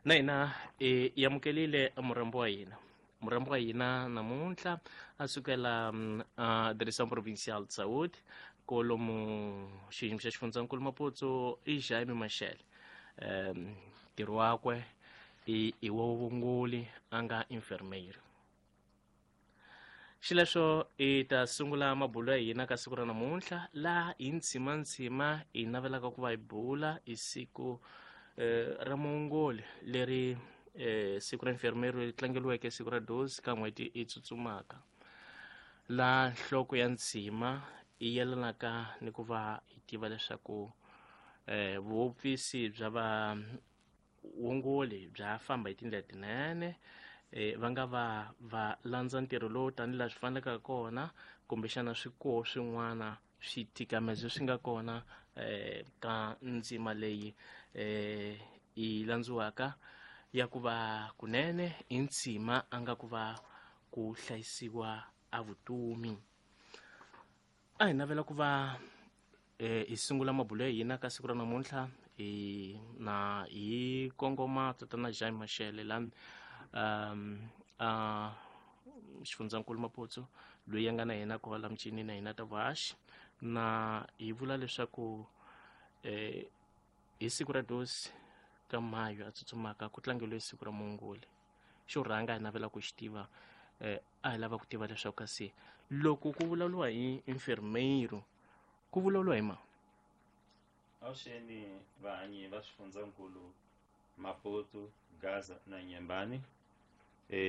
Na hina hi amukelile murhambi wa hina. Murhambi wa hina namuntlha a sukela a Direção Provincial de Saúde kolomu xiyimo xa xifundzankulu Maputo i Jaime Mashele. Ntirho wakwe i wa vuvunguli a nga enfermeiro. Xileswo hi ta sungula mabulo ya hina ka siku ra namuntlha laha hi ntshimantsima hi navelaka ku va hi bula hi siku ra muongoli leri siku ra enfermeiro leri tlangeriweke siku ra 12 ka n'hweti yi tsutsumaka, laha nhloko ya ntshima yi yelanaka ni ku va hi tiva leswaku vuhofisi bya vaongoli bya famba hi tindlela tinene, va nga va va landza ntirho lowu tanihi laha swi faneleke kona, kumbexana swi koho swin'wana switikamezo swi nga kona ka ndzima leyi yi landziwaka ya ku va kunene i ntshima a nga ku va ku hlayisiwa a vutomi. A hi navela ku va hi sungula mabulo ya hina ka siku ra namuntlha hi na hi kongoma tatana Jaime Mashele la a xifundzankulu Maputo loyi a nga na yena kwala michini na hina ta vuhaxi, na hi vula leswaku hi siku ra 12 ka Mayo a tsutsumaka ku tlangeriwe siku ra muongoli. Xo rhanga hi navela ku xi tiva, a hi lava ku tiva leswaku kasi loko ku vulavuriwa hi enfermeiro ku vulavuriwa hi mani? Avuxeni vahanyi va swifundzankulu Maputo, Gaza na Nyembani.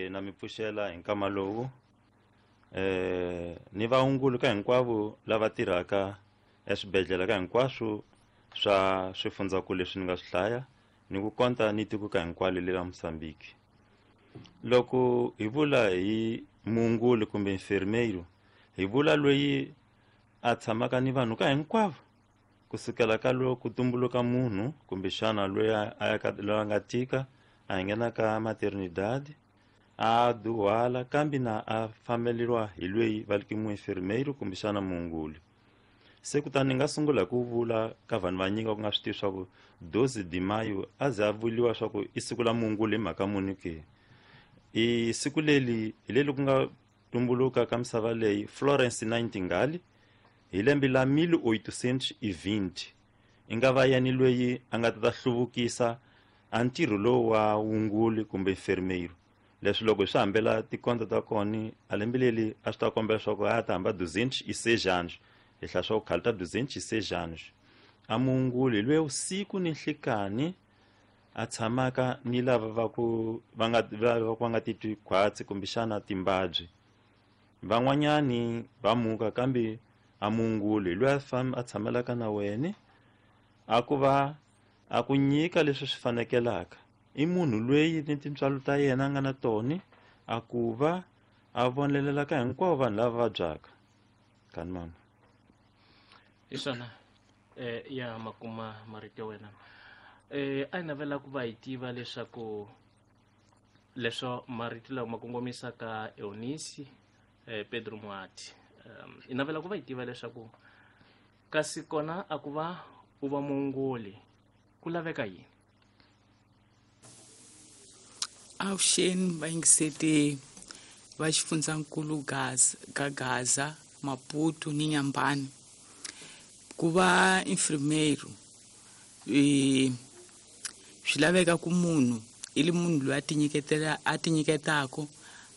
Na mi pfuxela hi nkama lowu. Ni vaongoli ka hinkwavo lava tirhaka eswibedhlele ka hinkwaswo swa swifundzankulu leswi ni nga swi hlaya, ni ku konta ni tiko ka hinkwalo le ra Mozambique. Loko hi vula hi muongoli kumbe enfermeiro, hi vula loyi a tshamaka ni vanhu ka hinkwavo kusukela ka loko ku tumbuluka munhu kumbexana loyi a ya ka loyi a nga tika a nghena ka maternidade a duhala, kambe na a fambeleriwa hi loyi va ri muenfermeiro kumbexana muongoli. Se kutani ni nga sungula hi ku vula ka vanhu vanyingi va ku nga swi tivi swa ku 12 de mayo a ze a vuriwa swa ku i siku la muongoli hi mhaka muni ke. I siku leri hi leri ku nga tumbuluka ka misava leyi Florence Nightingale hi lembe la 1820, i nga va yena loyi a nga ta hluvukisa a ntirho lowu wa wunguli kumbe enfermeiro. Leswi loko hi swi hambela tikonto ta kona a lembe leri a swi ta kombela leswaku a ta hamba 206 anos, hi hlaya swa ku khale ta 206 anos. A muongoli loyi usiku ni nhlikani a tshamaka ni lava va ku va nga va ku va nga titwi khwatsi kumbexana timbabyi. Van'wanyani va muka, kambe a muongoli loyi a tshamelaka na wena a ku va a ku nyika leswi swi fanekelaka. I munhu loyi ni tintswalo ta yena a nga na tona a ku va a vonelelaka hinkwavo vanhu lava vabyaka. Kani mama. Hi swona ya makuma marito ya wena. A hi navela ku va hi tiva leswaku leswo marito lawa ma kongomisaka Eunice Pedro Muati. Hi navela ku va hi tiva leswaku kasi kona a ku va u va muongoli ku laveka yini? Avuxeni vayingiseti va xifundzankulu Gaza, ka Gaza, Maputo ni Nyambani. Ku va enfermeiro swi laveka ku munhu i li munhu loyi a tinyiketela, a tinyiketako,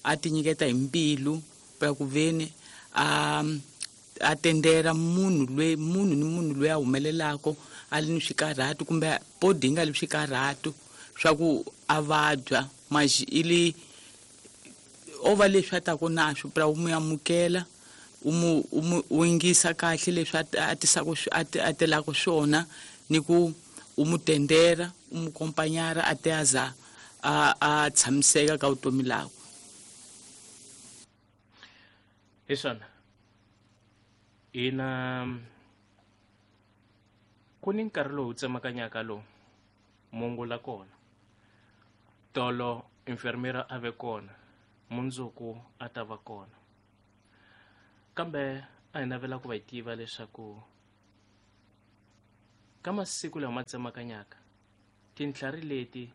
a tinyiketa hi mbilu ya ku veni a tendera munhu loyi, munhu ni munhu loyi a humelelako a li ni swikarhato kumbe body yi nga li swikarhato swa ku a vabya, mas i li o va leswi a taku na swo pra u mu amukela, u mu, u mu, u yingisa kahle leswi a tisaka a a telaka swona, ni ku u mu tendera, u mu kompanyara a te a za a tshamiseka ka vutomi lakwe. Hi swona hina ku ni nkarhi lowu tsemakanyaka lowu mungula kona tolo enfermera a ve kona mundzuku a ta va kona, kambe a hi navela ku va hi tiva leswaku ka masiku lawa ma tsemakanyaka tintlhari leti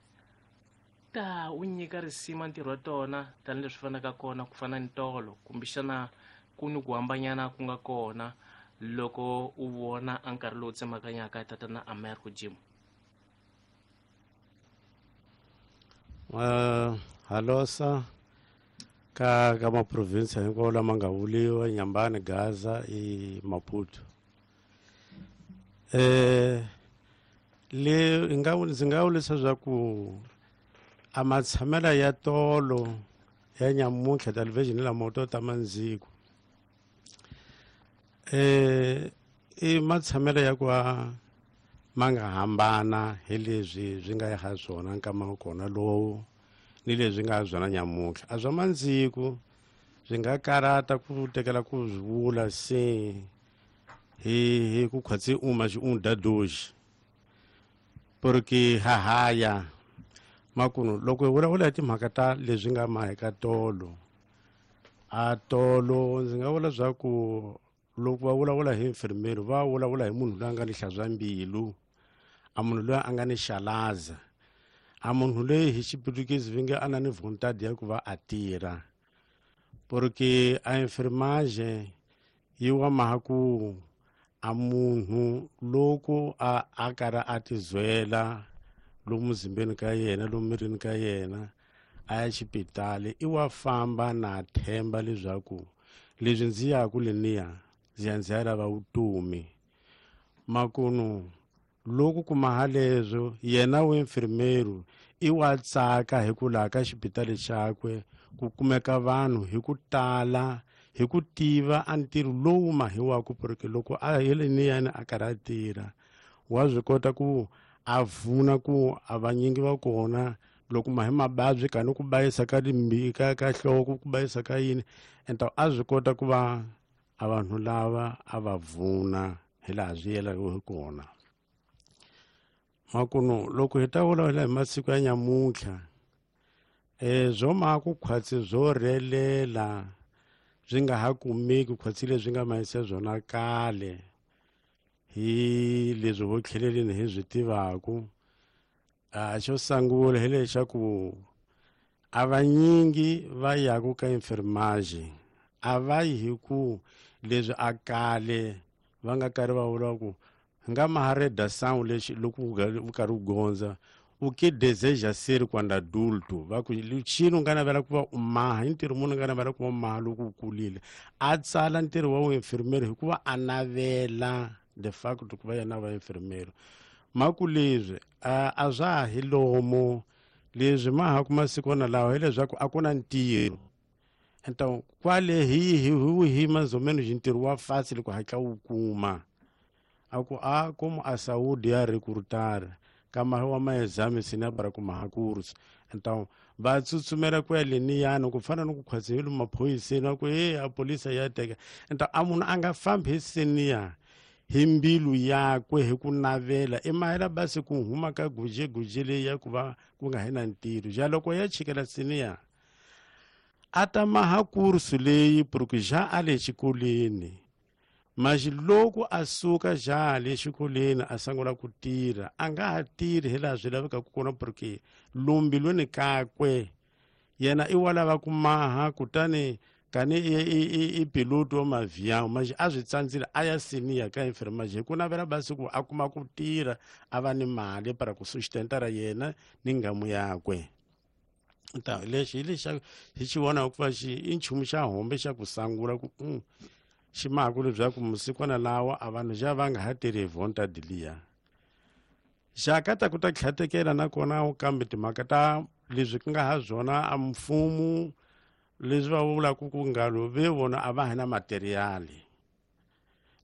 ta wu nyika risima ntirho wa tona tanihileswi fanaka kona ku fana ni tolo, kumbexana ku ni ku hambanyana ku nga kona loko u vona a nkarhi lowu tsemakanyaka tatana Americo Jim? Halosa ka maprovinsi hinkwawo lama nga vuliwa, Nyambani, Gaza i Maputo. Le ndzi nga vulisa swa ku a matshamela ya tolo ya nyamuntlha television lama to ta mandziko, i matshamelo ya ku ma nga hambana hi leswi swi nga ya swona nkama wa kona lowu ni leswi nga swona nyamuntlha. A swa mandziko swi nga karata ku tekela ku swi vula se hi ku khwatsi uma xi un dadoxi, porque hahaya makunu loko hi vulavula hi timhaka ta leswi nga maheka tolo, a tolo ndzi nga vula swa ku loko va vulavula hi infirmeri va vulavula hi munhu loyi a nga ni hlantswa mbilu, a munhu loyi a nga ni xalaza, a munhu loyi hi Xiputukezi va nge a na ni vontade ya ku va a tirha, porque a enfermagem yi wa maha ku a munhu loko a karhi a tizwela lomu muzimbeni ka yena, lomu mirini ka yena, a ya xipitali, i wa famba na themba leswaku leswi ndzi yaku leniya ndzi ya ndzi ya lava vutomi. Makunu loko kuma haleswo yena wa infirmeru i wa tsaka hi ku laha ka xipitali xakwe ku kumeka vanhu hi ku tala hi ku tiva a ntirho lowu mahiwaku, porque loko a heleniyani a karhi a tirha wa swi kota ku a vuna ku a vanyingi va kona loko mahi mababyi kani ku bayisa ka ka nhloko, ku bayisa ka yini, enta a swi kota ku va a vanhu lava a va vuna hi laha swi yelaka hi kona. Makunu loko hi ta vulavula hi masiku ya nyamuntlha, swo ma ku khwatsi swo rhelela swi nga ha kumeki khwatsi leswi nga mahisa swona kale hi leswi vo tlheleleni hi swi tivaku. A xo sungula hi lexaku a vanyingi va yaku ka enfermagem a va yi hi ku leswi a kale va nga karhi va vula ku nga mahareda sound lexi loko u karhi u gondza u ke deseja ser quando adulto, va ku luchini u nga navela ku va u maha hi ntirho munhu u nga navela ku va u maha loko u kulile, a tsala ntirho wa vuinfirmeri hikuva a navela de facto ku va yena va infirmeri. Maku leswi a swa ha hi lomu leswi ma ha kuma sikwana lawa hileswaku a ku na ntirho. Então kwale hi hi mais ou menos ntirho wa fácil ku hatla wu kuma, a ku a como a saúde ya recrutar kama wa maexame sina para kuma hakursi. Então va tsutsumela ku ya leniyani ku fana ni ku khwatsi hi lomu maphoyiseni va ku e a polisa ya teka. Então a munhu a nga fambi hi seniya hi mbilu yakwe hi ku navela i mahela basi ku huma ka guje leyi ya ku va ku nga hi na ntirho. Ja loko ya chikela seniya a ta maha kursu leyi porque ja a le xikolweni, maxi loko a suka ja le xikolweni a sungula ku tirha a nga ha tirhi hi laha swi lavekaka kona, porque lombilweni kakwe yena i wa lava ku maha, kutani kani i piloto wa mavião, maxi a swi tsandzile a ya seniya ka enfermagem hi ku navela basi ku a kuma ku tirha a va ni mali para ku sustentara yena ni ngamu yakwe. Ta lexi hi lexa hi xi vonaka ku va xi i nchumu xa hombe xa ku sangula ku xi maku leswaku musikwana lawa a vanhu xa va nga ha tirhi hi vontade liya. Xa ka ta ku ta tlhatekela nakona kambe timhaka ta leswi ku nga ha swona a mfumo leswi va vulaka ku ngalo ve vona a va ha na materiali.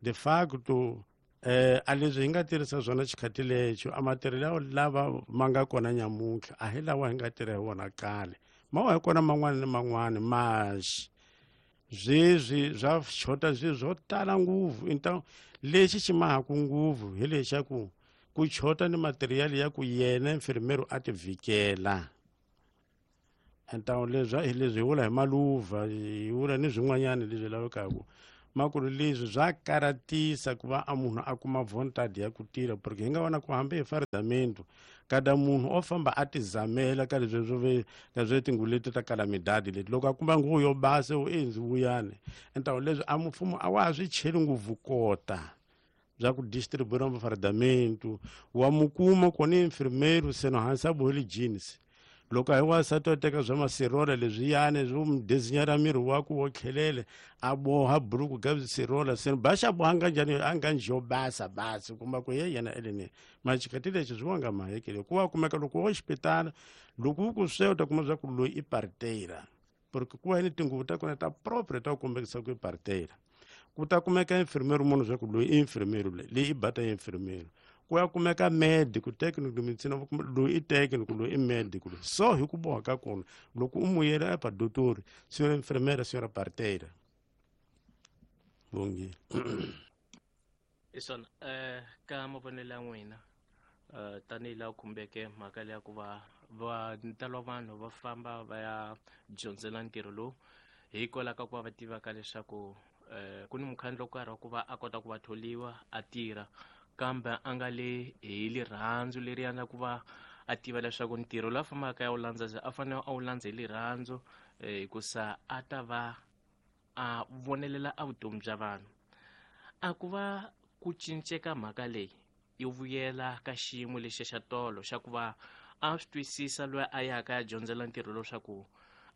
De facto a leswi hi nga tirhisa swona xikhati lexo a material lava ma nga kona nyamuntlha a hi lawa hi nga tirha hi wona kale, ma wa hi kona man'wana ni man'wana maxi sweswi swa xota swilo swo tala ngopfu. Então lexi xi mahaku ngopfu hi lexaku ku chota ni material ya ku yena infirmero a ti vhikela. Então leswi hi leswi hi vula hi maluva hi vula ni swin'wanyana leswi lavekaka. Makulu leswi swa karatisa ku va a munhu a kuma vontade ya ku tirha, porque hi nga vona ku hambi hi fardamento kada munhu o famba a tizamela ka leswi swo ve ka swo tinguvu leti ta kalamidadi leti, loko a kuma nguvu yo basa u endzi vuyani. Entawu leswi a mfumo a wa ha swi cheli ngopfu kota bya ku distribuir mafardamento wa mukuma kona infirmeiro seno hansi a boheli jeans. Loko a hi wansati wa teka swa masirola leswiyani swo mu dezinyara miri wa ku wo tlhelele a boha buruku ka sirola seno baxa boha nga njhani a nga njo basa basi kumba ku ye yena eleni maxikati lexi swi wanga mahekele ku wa kumeka loko wo xipitala loko u ku swe u ta kuma swa ku loyi i parteira, porque ku va ni tinguvu ta kona ta propre ta ku kombekisa ku i parteira. Ku ta kumeka infirmeiro munhu swa ku loyi i infirmeiro, leyi i bata ya infirmeiro. Ku ya kumeka medico technical medicine, loyi i technical, loyi i medical. So hi ku boha ka kona loko u muyela epa dotori, senhora enfermeira, senhora parteira. Bongile. Hi swona ka mavonelo ya n'wina, tanihi laha khumbeke mhaka leya ku va va ntalo wa vanhu va famba va ya dyondzela ntirho lowu hikwalaho ka ku va va tivaka leswaku ku ni mukhandlu wo karhi wa ku va a kota ku va tholiwa a tirha, kambe a nga le hi rirhandzu leriya na ku va a tiva leswaku ntirho lowu a fambaka ya wu landza a fanele a wu landza hi rirhandzu, hikusa a ta va a vonelela a vutomi bya vanhu. A ku va ku cinceka mhaka leyi yi vuyela ka xiyimo lexi xa tolo xa ku va a swi twisisa loyi a yaka ya dyondzela ntirho leswaku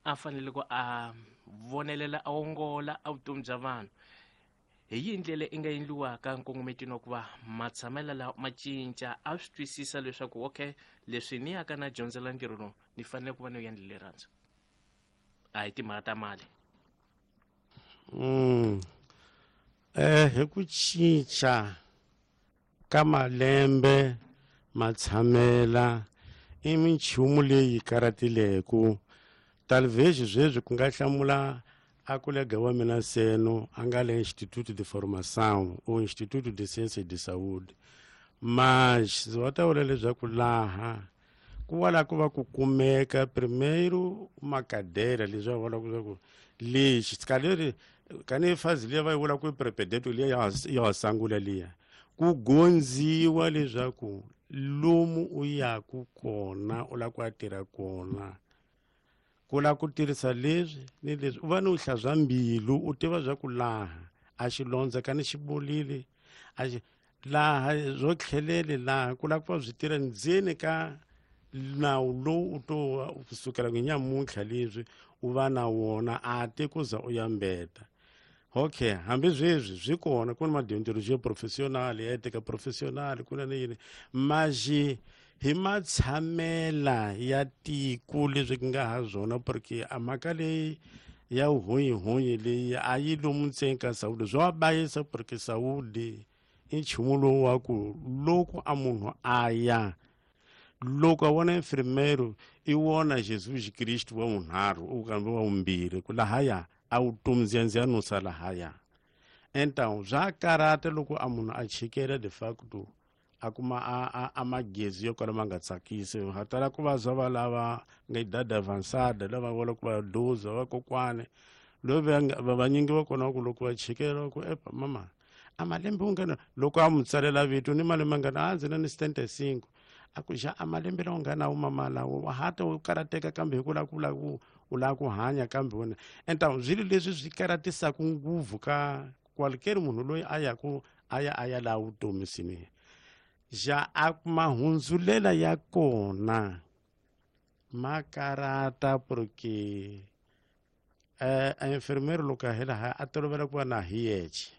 a fanele ku a vonelela a ongola a vutomi bya vanhu. Hi yihi ndlela i nga endliwaka nkongometweni wa ku va matshamelo lawa ma cinca, a swi twisisa leswaku okay leswi ni yaka na dyondzela ntirho lowu ni fanele ku va ni endle rirhandzu, a hi timhaka ta mali? Hi ku cinca ka malembe matshamela i minchumu leyi karatileku. Talvez sweswi ku nga hlamula a kolega wa mina Seno a nga le Instituto de Formação ou Instituto de Ciência de Saúde, mas va ta vula leswaku laha ku va la ku va ku kumeka primeiro uma cadeira leswi va vulaka leswaku lexi kaleri kani fazi liya va yi vula ku i prepedeto liya ya sangula liya ku gondziwa leswaku lomu u yaku kona u lava ku ya tirha kona ku lava ku tirhisa leswi ni leswi, u va ni u hlantswa mbilu u tiva swa ku laha a xilondza kani xi bolile a xi laha byo tlhelele laha ku lava ku va byi tirha ndzeni ka nawu lowu u to kusukela ku nyamuntlha leswi u va na wona a te ku za u ya mbeta. Okay, hambi sweswi swi kona ku na madeontologia professional ya etika professional ku na ni yini maxi hi matshamela ya tiko leswi ku nga ha swona, porque a mhaka leyi ya vuhonyihonyi leyi a yi lomu ntsena ka Saudi swa bayisa, porque Saudi i nchumu lowu wa ku loko a munhu a ya loko a vona infirmero i vona Jesus Kristu wa vunharhu u kambe wa vumbirhi ku lahaya a vutomi ndziyandziya nusa lahaya. Então swa karata loko a munhu a chikela de facto a kuma a magezi yo kala ma nga tsakisi, ha tala ku va zwa va lava nga idade avançada lava vula ku va doza va kokwani loyi va vanyingi va kona ku loko va chikela ku epa mama a malembe u nga na loko a mu tsalela vito ni malembe nga na a ndzi na ni 75 a ku xa a malembe lawa nga na mama lawo wa hata u karateka kambe hi ku lava ku lava ku u lava ku hanya kambe wena. Então swilo leswi swi karatisaka ngopfu ka qualquer munhu loyi a yaku a ya a ya laha vutomi sini ja a mahundzulela ya kona ma karata, porque a enfermeiro loko a hela a tolovela ku va na hi yexe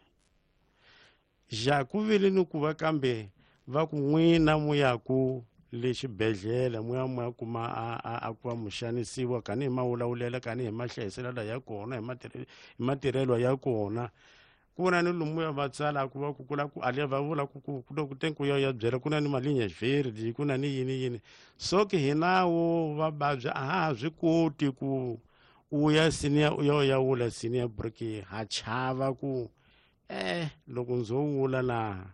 ja ku vile ni ku va kambe va ku n'wina mu ya ku le xibedhlele mu ya mu ya kuma a ku va mu xanisiwa kani hi mawulawulela kani hi mahlayiselelo ya kona hi matirhelo ya kona ku na ni lomu ya va tsalaku va ku kula ku ale va vula ku ku ku ku tenku ya ya byela ku na ni malinha verde ku na ni yini yini so ke hinawo va vabya a ha ha swi koti ku u ya senior u ya u ya wula senior porque ha chava ku loko ndzo wula laha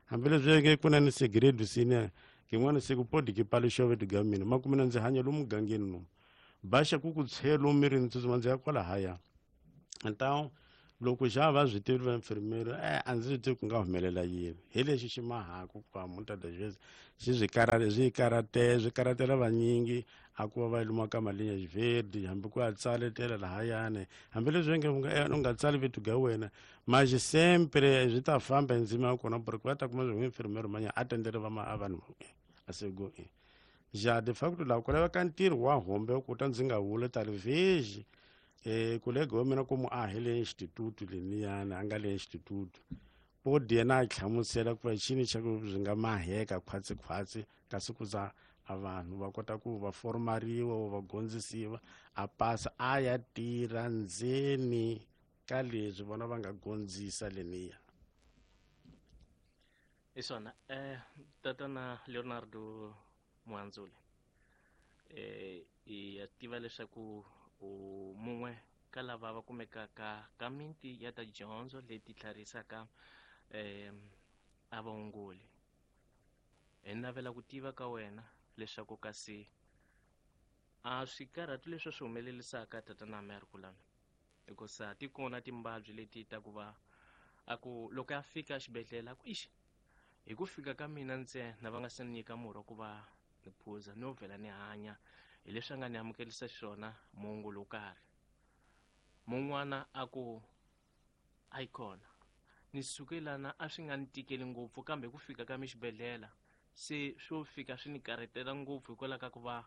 hambileswi nge ku na ni segredo senior kin'wana siku podi ki paluxove tiga mina makumina ndzi hanya lomu mugangeni lomu baxa ku ku tshelo mirini tsutsuma ndzi ya kwalahaya. Então Loko xa va swi tivi va infirmero a ndzi swi tivi ku nga humelela yini hi lexi xi mahaku ku va muta das vezes xi swi karate swi karate swi karatela vanyingi a ku va va luma ka malinha verde hambi ku ya tsaletela lahayani hambileswi nge u nga tsali vito ga wena mas sempre swi ta famba hi ndzima ya kona porque va ta kuma swi infirmero manya a tendele va a vanhu a sego já de facto laha ku laveka ntirho wa hombe ku ta ndzi nga vuli talvez kolega wa mina komu a hi le instituto leniyani a nga le instituto podi yena a hlamusela ku va xini xa ku swi nga maheka khwatsi-khwatsi kasi ku za a vanhu va kota ku va formariwa va gondzisiwa a pasa a ya tirha ndzeni ka leswi vona va nga gondzisa leniya. Hi swona tatana Leonardo Muhandzuli hi ya tiva leswaku u mun'we ka lava va kumekaka ka miti ya ta dyondzo leti tlharisaka a vaongoli. Hi navela ku tiva ka wena leswaku kasi a swikarhati leswi swi humelelisaka tatana Mary Kulani hikusa ti kona timbabyi leti ta ku va a ku loko ya fika xibedhlele a ku ixi hi ku fika ka mina ntsena va nga se ni nyika murhi wa ku va ni phuza no vhela ni hanya hi leswi a nga ni amukelisa xiswona muongoli wo karhi. Mun'wana a ku a yi kona ni suke lana a swi nga ni tikeli ngopfu kambe ku fika ka mi xibedhlele se swo fika swi ni karhetela ngopfu hikwalaho ka ku va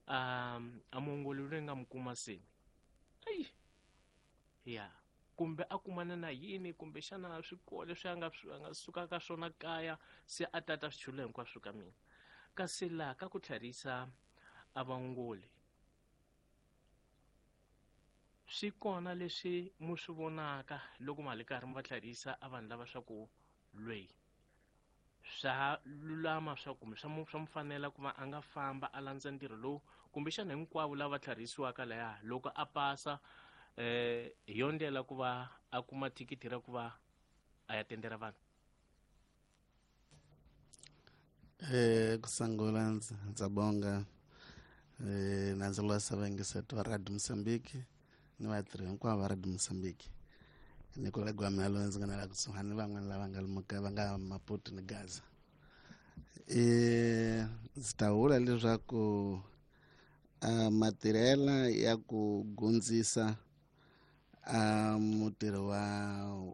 a muongoli loyi nga mi kuma se ayi ya kumbe a kumana na yini kumbe xana swikolo leswi a nga suka ka swona kaya se a tata swichulo hinkwaswo ka mina. Kasi laha ka ku tlharisa a vaongoli swi kona leswi mu swi vonaka loko ma li karhi mi va tlharisa a vanhu lava swa ku lweyi swa lulama swa kumbe swa mu fanela ku va a nga famba a landza ntirho lowu kumbexana hinkwavo lava tlharisiwaka laya loko a pasa hi yo ndlela ku va a kuma thikithi ra ku va a ya tendera vanhu. Kusangula ndza bonga na ndzi losa vayingiseti va Radio Mozambique ni vatirhi hinkwavo va Radio Mozambique ni kolega wa mina loyi ndzi nga na la kusuhani ni van'wana lava nga lomuka va nga Maputo ni Gaza. Ndzi ta vula leswaku matirhela ya ku gundzisa mutirhi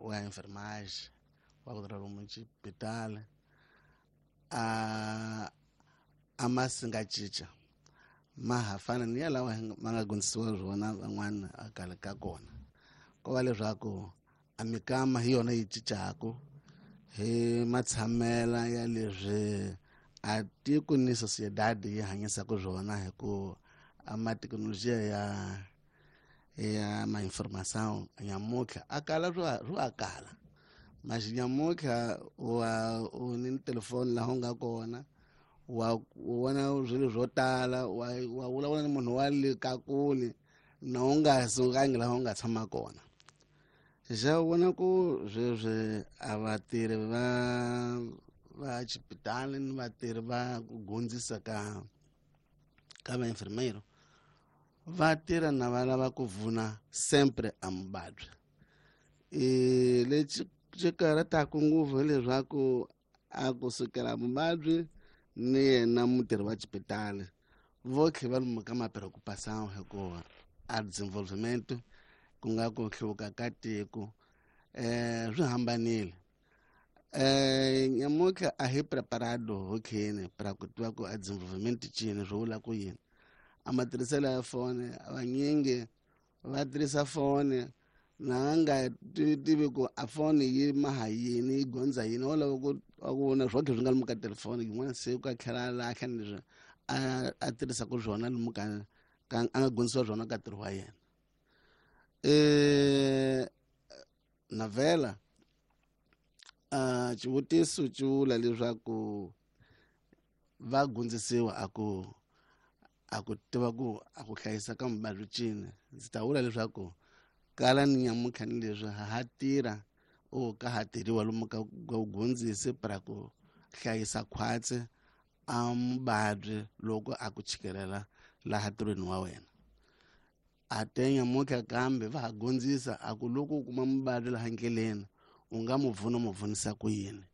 wa enfermagem wa ku tirha lomu xibedhlele a ma si nga cinca ma ha fana ni ya lawa ma nga gundzisiwa swona van'wana a khale ka kona. Ko va leswaku a mikama hi yona yi cincaku hi matshamela ya leswi a tiko ni sociedade yi hanyisaka swona hi ku a mathekinolojiya ya ma informação nyamutlha a kala swo a kala mas nyamutlha wa u ni telefoni laha u nga kona wa vona swilo swo tala wa vulavula ni munhu wa le ka kule na u nga sukangi laha u nga tshama kona. Xa vona ku sweswi a vatirhi va xipitali ni vatirhi va ku gundzisa ka va enfermeiro va tirha na va lava ku vuna sempre a muvabyi. Lexi xi karhataka ngopfu hileswaku a kusukela muvabyi ni yena mutirhi wa xipitali vo tlhe va lomu ka mapreocupação hikuva a desenvolvimento ku nga ku hluvuka ka tiko swi hambanile. Nyamutlha a hi preparado ho kheni para ku tiva ku a desenvolvimento cini swi vula ku yini. A matirhiselo ya foni vanyingi va tirhisa foni na nga tivi ku a foni yi maha yini yi gondza yini wo lava ku vona swotlhe swi nga lomu ka telefoni yin'wana se ku a tlhela a lahla ni leswi a tirhisaka swona lomu ka a nga gondzisiwa swona ka ntirho wa yena. Navela xivutiso xi vula leswaku va gundzisiwa a ku tiva ku a ku hlayisa ka muvabyi cini. Ndzi ta vula leswaku kala ni nyamutlha ni leswi ha tirha o ka ha tirhiwa lomu ka ku gundzisi para ku hlayisa khwatsi a muvabyi loko a ku chikelela laha ntirhweni wa wena. A te nyamuntlha kambe va ha gondzisa a ku loko u kuma muvabyi laha ndleleni u nga mu pfuna mu pfunisa ku yini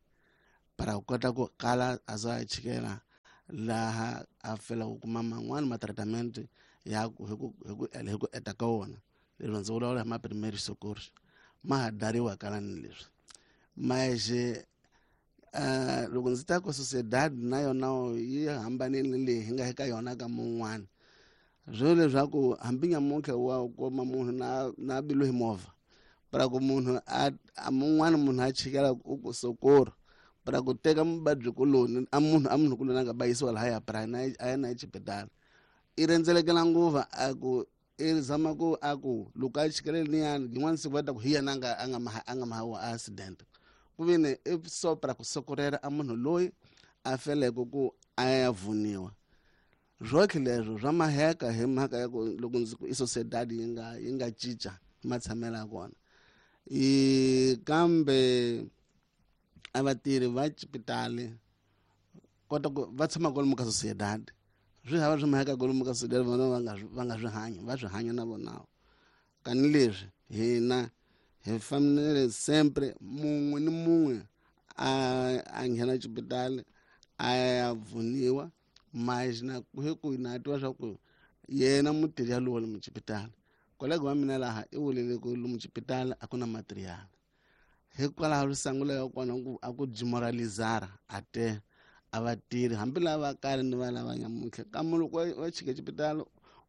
para ku kota ku kala a za a chikela laha a fela ku kuma man'wani ma-treatment ya ku hi ku hi ku hi ku eta ka wona. Leswi ndzi vulavula hi ma-primary socorro ma ha dariwa kala ni leswi maje. Loko ndzi ta ku sociedad na yona yi hambanile leyi hi nga eka yona ka mun'wana, swo leswaku hambi nyamuntlha wa kuma munhu na biliwe hi movha para ku munhu a mun'wana munhu a chikela u ku socorro para ku teka muvabyi kuloni a munhu a munhu kuloni a nga bayisiwa lahaya para na a ya na exibedhlele i rhendzelekela nguva a ku i zama ku a ku loko a chikele liyani yin'wana siku va ta ku hi yena a nga mahawa accident ku vini i so para ku sokorela a munhu loyi a feleke ku a ya vuniwa. Swotlhe leswo swa maheka hi mhaka ya ku loko ndzi ku i sociedad yi nga cinca matshamelo ya kona i kambe a vatirhi va xipitali kota ku va tshama kwalomu ka sociedad swi hava swi maheka kwalomu ka sociedad vona va nga swi hanya va swi hanya na vona. Kani leswi hina hi fanele sempre mun'we ni mun'we a nghena xipitali a ya pfuniwa, mas na hi ku na twa swa ku yena mutirhi yalowo lomu xipitali kolega wa mina laha i vulele ku lomu xipitali a ku na material hikwalaho risangu ya kona ku a ku demoralizara a te a vatirhi hambi lava kale ni va lava nyamuntlha kambe loko wa chika xipitali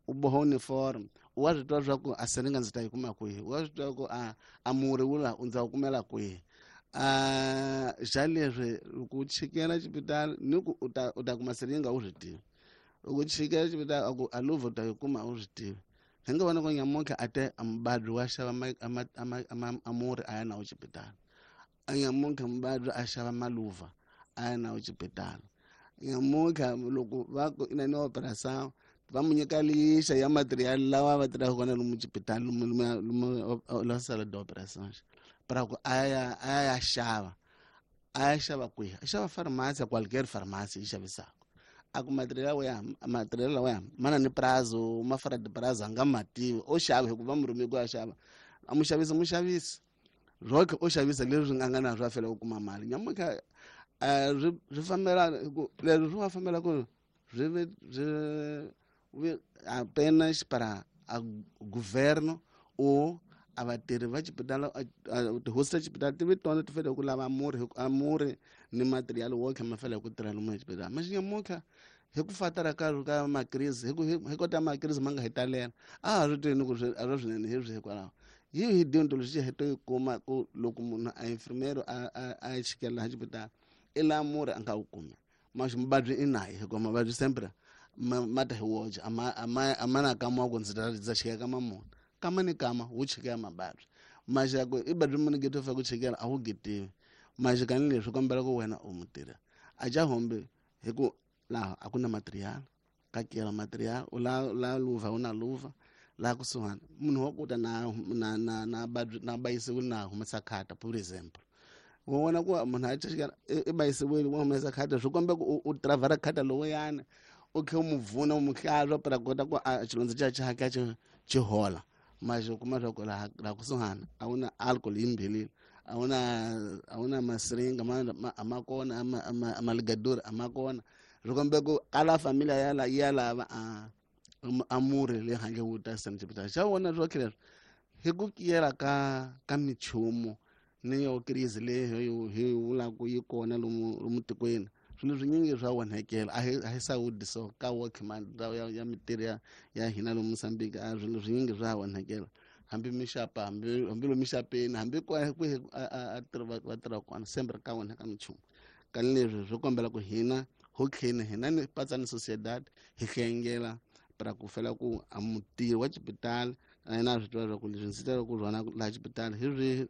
u boha uniform wa swi tiva swa ku a siringa ndzi ta yi kuma kwihi, wa swi tiva ku a murhi wu la ndza wu kumela kwihi. A xa leswi loko u chikela xipitali ni ku u ta kuma siringa u swi tivi, loko u chikela xipitali a ku a luvha u ta yi kuma u swi tivi. Hi nga vona ku nyamuntlha a te a muvabyi wa xava a murhi a ya na wo xipitali, a nyamuntlha muvabyi a xava maluva a ya na wo xipitali. Nyamuntlha loko va ku i na ni operação va mu nyika lixa ya material lawa va tirhaka kona lomu xipitali lomu la sala de operações para ku a ya xava a ya xava kwihi, a xava farmasi qualquer farmasi yi xavisaka. A ku material ya material lawa ya mana ni prazo ma fora de prazo a nga ma tivi o xava hikuva mu rhume ku ya xava a muxavisi muxavisi roke o xavisa leswi nga na swa fela ku kuma mali. Nyamuntlha swi fambela ku leswi swi nga fambela ku swi ve swi apenas para a governo ou a vatirhi va xipitali tihosi ta xipitali ti vi tona ti fanele ku lava murhi a murhi ni material wo tlhela ma fanele ku tirha lomu exibedhlele. Mas nyamuntlha hi ku fatara ka makrisi hi kota makrisi ma nga hi talela a ha swi tivi ni ku swi a swi swinene hi swi hikwalaho hi dyondzo lexi hi to yi kuma ku loko munhu a infirmero a chikela laha xipitali i laha murhi a nga wu kumi mas muvabyi i naye hikuva mavabyi sempre ma ta hi woxe a ma na kama wa ku ndzi ta ndza chikela kama muni kama ni kama wu chikela mavabyi maxaku i badri muni geto fa ku chikela a wu getiwi maxikani leswi kombela ku wena u mutirhi a ja hombe hi ku laha a ku na material ka kela material u la luva u na luva laha kusuhani munhu wa kuta na bayisiwile na humesa khata por example wa vona ku munhu a chikela i bayisiwile wa humesa khata swi komba ku u travara khata lowuyani u khe u mu pfuna u mu hlantswa para kota ku a xilondza xa xi xi xi hola mas u kuma swa ku laha kusuhani a wu na alcohol yi mbhelile a wu na masiringa a ma kona a maligadori a ma kona swi kombe ku kala familia ya la ya lava a murhi le handle wu ta sena xipitali xa vona swo tlhela hi ku kiyela ka minchumu ni yo crise leyi hi vulaka yi kona lomu tikweni swilo swinyingi swa onhekela a hi sawudi so ka workman ya mintirho ya hina lomu Mozambique a swilo swinyingi swa onhekela hambi mixapa hambi lomu mixapeni hambi kwihi a va tirha kona sempre ka onheka minchumu. Kani leswi swi kombela ku hina ho tlheni hina ni patsa ni sociedad hi hlengela para ku fela ku a mutirhi wa xipitali na yena a swi tiva leswaku leswi ndzi tela ku rhwana laha xipitali hi swihi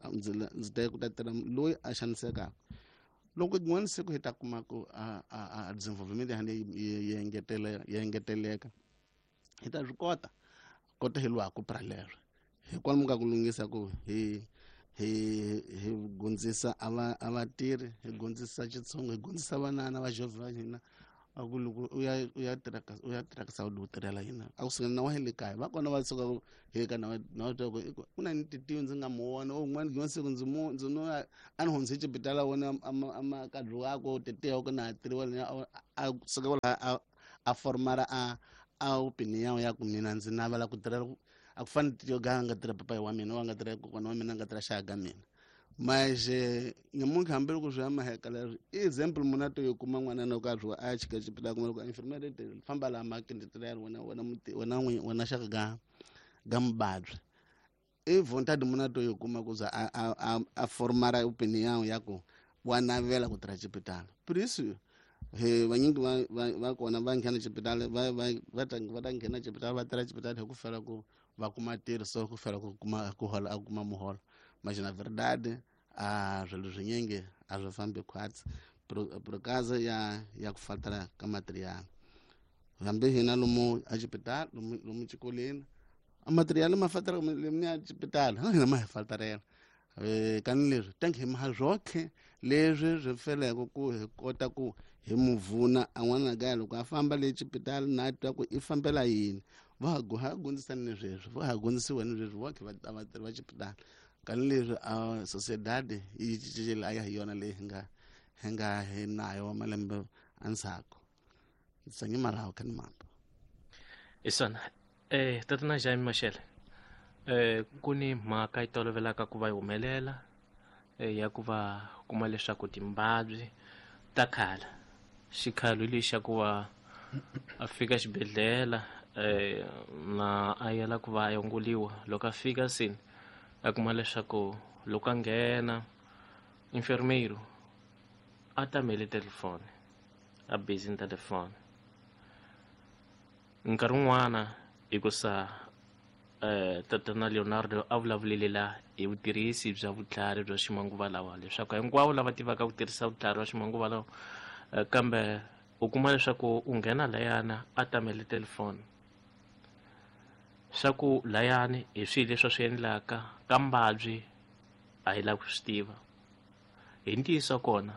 ndzi ta ku ta tirha loyi a xanisekaka loko rin'wana siku hi ta kuma ku a desenvolvement ya hina yi engeteleka hi ta swi kota hi lwaku pra leswo hi kwalomu ka ku lunghisa ku hi gondzisa a vatirhi hi gondzisa Xitsonga hi gondzisa vanana va jovhe va hina. A ku loko u ya tirha ka u ya tirha ka saudi, u tirhela yini? A ku suka na wa le kaya va kona va suka he ka na twa ku ku na ni titiwi ndzi nga mu vona o un'wana gina siku ndzi mu ndzi no a ni hundze xibedhlele wona ama kadlu wako titiwa ku na tiriwa a suka la a formara a opinion ya ku mina ndzi navela ku tirhela a ku fani titiwa ga nga tirha papayi wa mina wa nga tirha kokwana wa mina nga tirha xaka ga mina. Mas nyamuntlha hambi loko swi ya maheka leswi i example munhu a to yi kuma n'wana loko a zwiwa a ya chika xibedhlele kuma loko enfermeira te famba laha makende tirhela wena wena muti wena n'winyi wena xaka ga mubabyi i vontade munhu a to yi kuma ku za a formara opinion ya ku wa navela ku tirha xibedhlele. Por isso he vanyingi va kona va nghena xibedhlele va ta nghena xibedhlele va tirha xibedhlele hi ku fela ku va kuma ntirho, so ku fela ku kuma ku hola a kuma muholo. Mas na verdade a swilo swinyingi a swi fambi khwatsi por causa ya ku faltara ka material. Hambi hina lomu a xibedhlele lomu xikolweni a material ma faltara lomu ya xibedhlele na hina ma hi faltarela kani leswi tanki hi maha swotlhe leswi swi feleke ku hi kota ku hi mu vuna a n'wana kaya loko a famba le xibedhlele na twa ku i fambela yini. Va ha gondzisani ni sweswi va ha gondzisiwa ni sweswi votlhe vatirhi va xibedhlele kani leswi a sociedade yi cincile a ya hi yona leyi hi nga hi nayo malembe endzhaku ndzi malawo kha ni mambo. Isona tatana Jaime Mashele, ku ni mhaka yi tolovelaka ku va yi humelela ya ku va kuma leswaku timbabyi ta khala xikhalo hi lexi xa ku va a fika xibedhlele na a yela ku va a yongoliwa. Loko a fika sini a kuma leswaku loko a nghena enfermeiro a tamele telefoni a busy ni telefoni nkarhi wun'wana hikusa tatana Leonardo a vulavulile la hi vutirhisi bya vutlhari bya ximanguva lawa leswaku hinkwavo lava tivaka ku tirhisa vutlhari bya ximanguva lawa kambe u kuma leswaku u nghena layana a tamele telefoni swa ku layani hi swihi leswi a swi endlaka ka mbabyi a hi lavi ku swi tiva hi ntiyiso kona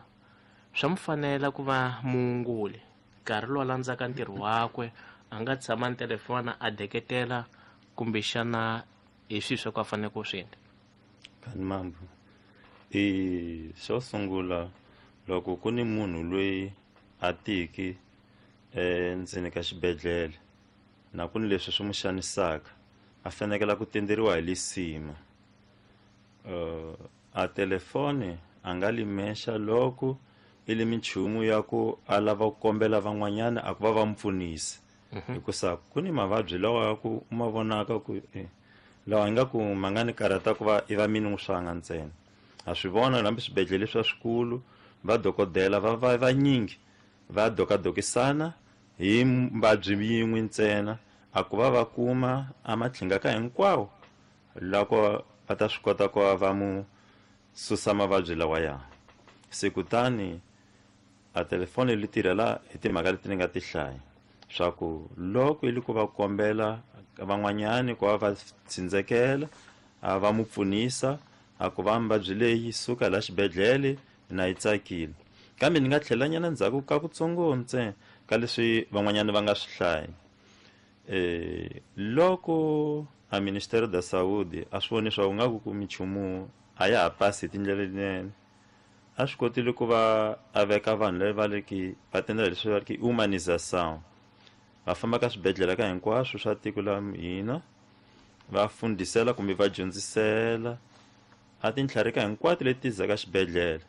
swa mu fanela ku va muunguli nkarhi lowu a landzaka ntirho wakwe a nga tshama ni telefona a deketela kumbexana hi swihi swa ku a fanele ku swi endla. Kani mambo i xo sungula loko ku ni munhu loyi a tiki endzeni ka xibedhlele na ku ni leswi swi n'wi xanisaka a fanekela ku tenderiwa hi lisima a telefoni a nga limexa loko i li minchumu ya ku a lava ku kombela van'wanyana a ku va va mu pfunisa hikusa ku ni mavabyi lawa ya ku u ma vonaka ku lawa ingaku ma nga ni karhata ku va i va mini swanga ntsena. Ha swi vona hambi swibedhlele swa swikulu va dokodela va va vanyingi va dokadokisana hi mbabyi yin'we ntsena a ku va va kuma a matlhinga ka hinkwawo loko va ta swi kota ku va va mu susa mavabyi lawaya. Se kutani a telefoni li tirhela hi timhaka leti ni nga ti hlaya swa ku loko i li ku va kombela van'wanyani ku va va tsindzekela a va mu pfunisa a ku va mbabyi leyi suka la xibedhlele na yi tsakile. Kambe ni nga tlhela nyana ndzhaku ka kutsongo ntsena ka leswi van'wanyana va nga swi hlaya loko a Ministério da Saúde a swi voni swa ku nga ku minchumu a ya ha pasi hi tindlela letinene a swi kotile ku va a veka vanhu lava va ri ki va tendela leswi va ri ki humanização va famba ka swibedhlele ka hinkwaswo swa tiko la hina va fundisela kumbe va dyondzisela a tintlhari ka hinkwato leti zaka xibedhlele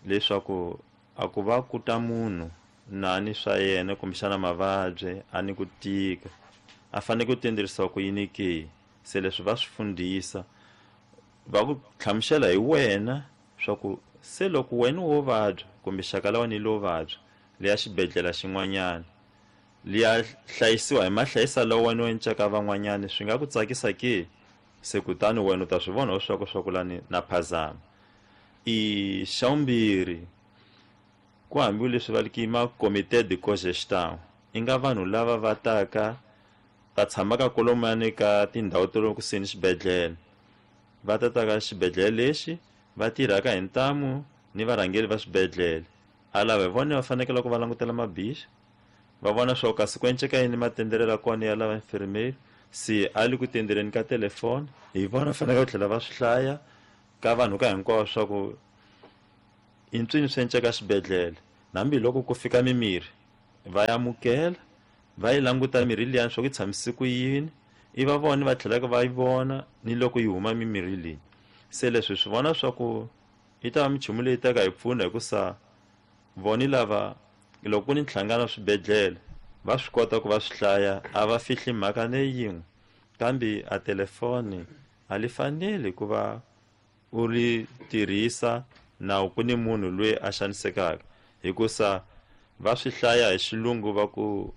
leswaku a ku va ku ta munhu nani swa yena kumbexana mavabyi a ni ku tika a fanele ku tendrisiwa ku yini ke. Se leswi va swi fundisa va ku hlamusela hi wena swa ku se loko wena wo vabya kumbe xaka la wena lo vabya liya xibedhlele xin'wanyana liya hlayisiwa hi mahlayisa lawa wena u encaka van'wanyana swi nga ku tsakisa ke. Se kutani wena u ta swi vona swa ku lani na phazama. I xa vumbirhi ku hambi leswi va ri ma comité de cogestion i nga vanhu lava va taka va tshamaka kolomani ka tindhawu ta le kusuhi ni xibedhlele va ta ta ka xibedhlele lexi va tirhaka hi ntamu ni varhangeri va swibedhlele. A lava hi vona va fanekele ku va langutela mabixa, va vona swa ku kasi ku enceka yini matenderelo ya kona ya lava infirmeri, se a le ku tendereni ka telefoni, hi vona fanekele ku tlhela va swi hlaya ka vanhu ka hinkwavo swa ku i ntswini swi enceka xibedhlele. Hambiloko ku fika mimirhi va ya amukela, va yi languta mirhi liyani swa ku yi tshamise ku yini, i va vona va tlhelaka va yi vona ni loko yi huma mimirhi leyi. Se leswi swi vona swa ku yi ta va minchumu leyi taka hi pfuna, hikusa voni lava loko ku ni nhlangano swibedhlele va swi kota ku va swi hlaya, a va fihli mhaka ne yin'we. Kambe a telefoni a li faneli ku va u ri tirhisa na ku ni munhu loyi a xanisekaka, hikusa va swi hlaya hi xilungu va ku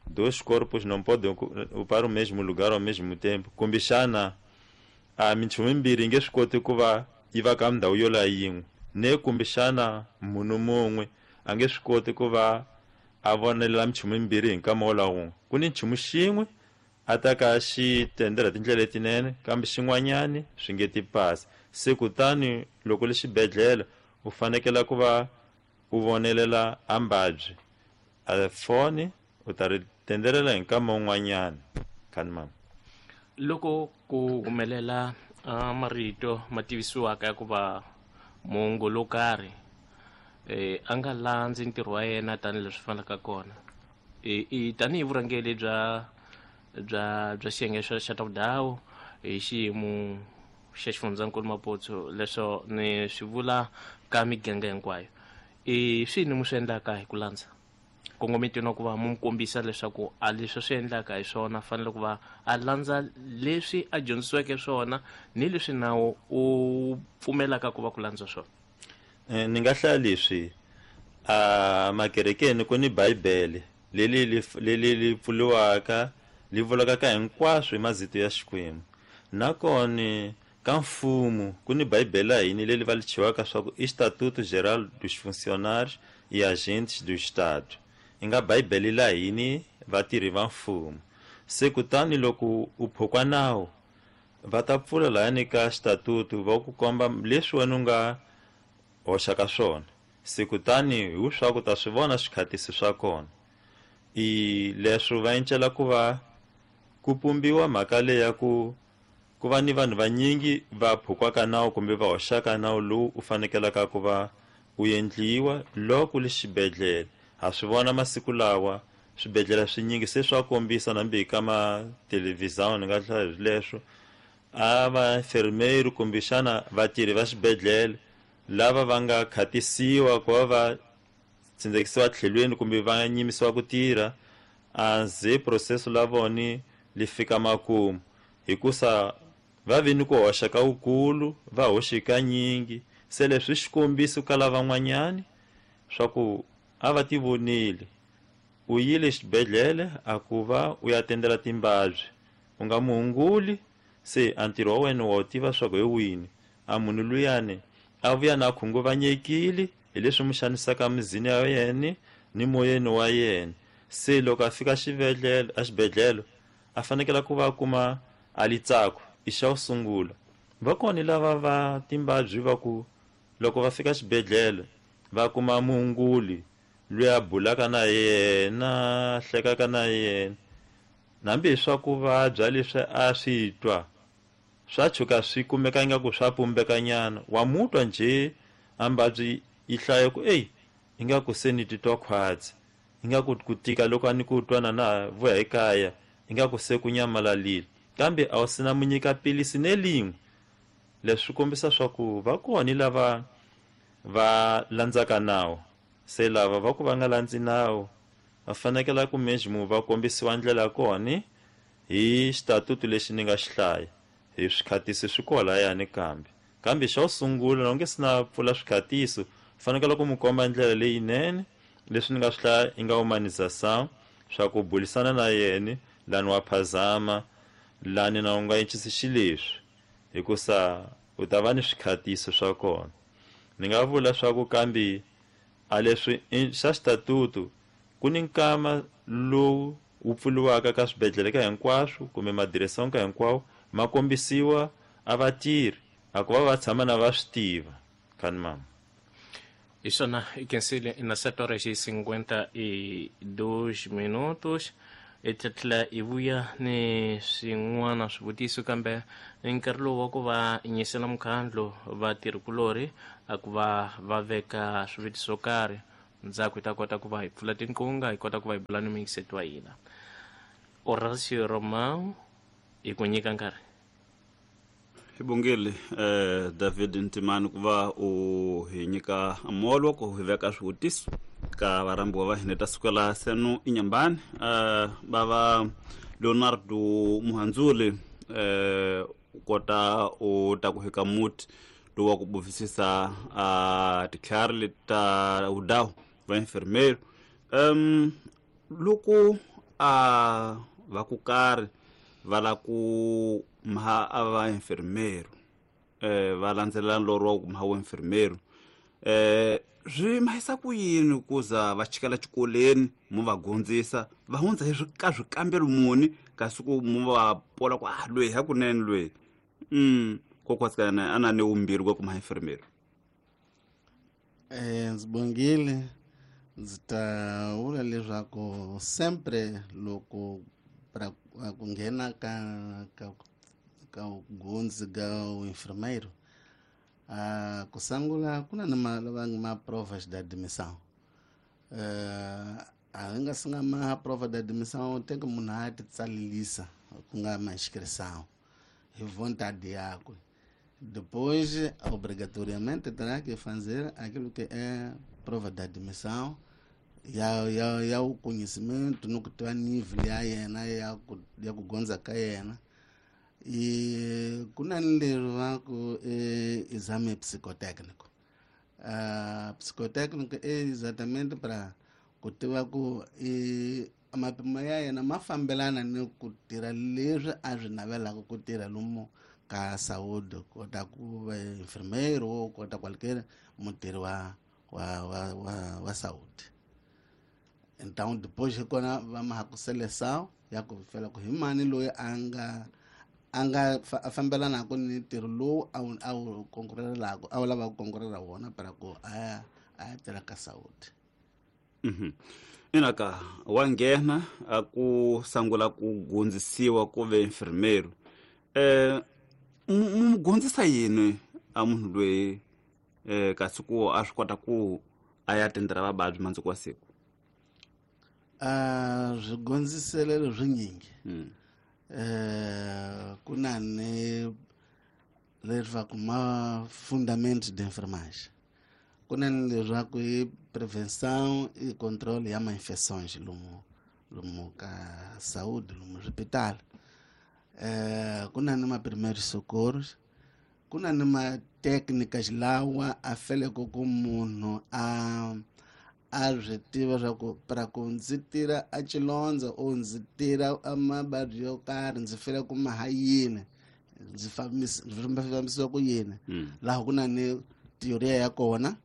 dois corpos não podem ocupar o mesmo lugar ao mesmo tempo, kumbexana a minchumu yimbirhi yi nge swi koti ku va yi va ka ndhawu yo la yin'we, ne kumbexana munhu mun'we a nge swi koti ku va a vonelela minchumu yimbirhi hi nkama wo la wun'we. Ku ni nchumu xin'we a ta ka xi tendela tindlela letinene, kambe xin'wanyani swi nge ti pasi. Se kutani loko le xibedhlele u fanekele ku va u vonelela a mbabyi, a foni u ta ri tendelela hi nkama wun'wanyana. Khani mama. Loko ku humelela marito ma tivisiwaka ya ku va muongori lo karhi a nga landzi ntirho wa yena tanihileswi fanelaka kona, i tanihi vurhangeri bya xiyenge xa ta vudhawu hi xiyimo xa xifundzankulu Maputo, leswo ni swi vula ka miganga hinkwayo, i swini mi swi endlaka hi ku landza kongometweni wa ku va mu kombisa leswaku a leswi swi endlaka hi swona fanele ku va a landza leswi a dyondzisiweke swona ni leswi nawu u pfumelaka ku va ku landza swona? Ni nga hlaya leswi a makerekeni ku ni Bibele leli li pfuriwaka li vulaka ka hinkwaswo hi mazito ya Xikwembu. Nakona ka mfumo ku ni Bibele ya hina leli va li chiwaka swa ku Estatuto Geral dos Funcionários e Agentes do Estado, yi nga Bibele la hina vatirhi va mfumo. Se kutani loko u phukwa nawu va ta pfula lahayani ka xitatutu va ku komba leswi wena u nga hoxaka swona. Se kutani hi swa ku ta swi vona swikhatisi swa kona. I leswi va encela ku va ku pumbiwa mhaka leyi ya ku ku va ni vanhu vanyingi va phukwaka nawu kumbe va hoxaka nawu lowu u fanekelaka ku va u endliwa loko le xibedhlele. Ha swi vona masiku lawa swibedhlele swinyingi se swa kombisa nambi hi ka mathelevhizani, ni nga hlaya hi leswo a va enfermeiro kumbexana vatirhi va xibedhlele lava va nga khatisiwa ku va va tsindzekisiwa tlhelweni kumbe va nyimisiwa ku tirha, a ze processo la voni li fika makumu, hikusa va vi ni ku hoxa ka wukulu, va hoxe kanyingi. Se leswi xikombiso ka lavan'wanyani swa ku a va ti vonile, u yile xibedhlele a ku va u ya tendela timbabyi, u nga muhunguli, se a ntirho wa wena wa wu tiva swa ku hi wini. A munhu luyani a vuya na khunguvanyekile hi leswi mu xanisaka mizini ya yena ni moyeni wa yena. Se loko a fika xibedhlele a fanekele ku va a kuma a litsako i xa ku sungula. Va kona lava va timbabyi va ku loko va fika xibedhlele va kuma muhunguli loyi a bulaka na yena, hlekaka na yena, hambi hi swa ku vabya leswi a swi twa swa tshuka swi kumeka ingaku swa pumbekanyana, wa mutwa njhe a mbabyi yi hlaya ku eyi ingaku se ni titwa khwatsi, ingaku ku tika loko a ni ku twa na na vuya ekaya ingaku se ku nyamalalile, kambe a wu sina mu nyika pilisi ne lin'we. Leswi swi kombisa swa ku va kona lava va landzaka nawu, se lava va ku va nga landzi nawu va fanekele ku mesmo va kombisiwa ndlela ya kona hi xitatutu lexi ni nga xi hlaya, hi swikhatisi swi koho lahayani. Kambe xa ku sungula loko nge se na pfula swikhatiso, fanekele ku mu komba ndlela leyinene leswi ni nga swi hlaya i nga humanização swa ku bulisana na yena lani wa phazama, lani na u nga encisi xileswi, hikusa u ta va ni swikhatiso swa kona. Ni nga vula swa ku kambe a leswi xa xitatutu ku ni nkama lowu wu pfuriwaka ka swibedhlele ka hinkwaswo kumbe madireson ka hinkwawo, ma kombisiwa a vatirhi a ku va va tshama na va swi tiva. Khani mama. Hi swona i khensile na 7 horas e 52 minutos. Hi ta tlhela hi vuya ni swin'wana swivutiso, kambe nkarhi lowu wa ku va nyisela mukhandlu vatirhikulorhi a ku va va veka swivutiso swo karhi, ndzhaku hi ta kota ku va hi pfula tinqunga, hi kota ku va hi bula ni muyingiseti wa hina Horacio Romao. Hi ku nyika nkarhi. Hi bongile David Ntimani ku va u hi nyika molo ku hi veka swivutiso ka varhambiwa va hina ta sukela senu inyambani. Bava Leonardo Muhandzuli, u kota u ta ku hika muti lowu wa ku buvisisa titlhari leti ta vudawu va enfermeiro. Loko a va ku karhi va la ku maha a va enfermeiro, va landzelela nlorho wa ku maha wa enfermeiro, swi mahisa ku yini ku za va chikela xikolweni mu va gondzisa va hundza hi ka swikambelo muni, kasi ku mu va pola ku a loyi hakunene loyi kokwatsikana a na ni vumbirhi ku kuma enfermeiro? Ndzi bongile, ndzi ta vula leswaku sempre loko pra ku nghena ka gundzi ka enfermeiro, ku sungula ku na ni ma lava ma provas de admissão. A nga si nga ma prova de admissão, tem que munhu a ti tsalelisa ku nga ma inscrição hi vontade yakwe. Depois, obrigatoriamente, terá que fazer aquilo que é prova de admissão ya o conhecimento no que tiva nível ya yena ya ku gondza ka yena. E ku na ni leri va ku exame psicotécnico. Psicotécnico é exatamente para ku tiva ku i mapimo ya yena ma fambelana ni ku tirha leswi a swi navelaka ku tirha lomu ka saúde, kota ku va enfermeiro ou kota qualquer mutirhi wa saúde. Então depois hi kona va mahaku seleção ya ku fela ku hi mani loyi a nga a fambelanaka ni ntirho lowu a wu konkurelaka, a wu lava ku konkurela wona para ku a ya tirha ka saúde. Ina ka wa nghena a ku sangula ku gondzisiwa ku ve enfermeiro, mu gondzisa yini a munhu loyi, kasi ku a swi kota ku a ya tendela vavabyi mandzuku wa siku? Swigondziselelo swinyingi. Ku na ni leswaku ma fundamento de enfermagem, ku na ni leswaku i prevenção e controle ya ma-infecções lomu ka saúde, lomu swipitali. Ku na ni ma primeiros socorros, ku na ni ma técnicas lawa a feleke ku munhu a swi tiva swa ku para ku ndzi tirha a xilondza o ndzi tirha a mavabyi yo karhi, ndzi fele ku maha yini, ndzi fambisiwa ku yini. Laha ku na ni teoria ya kona,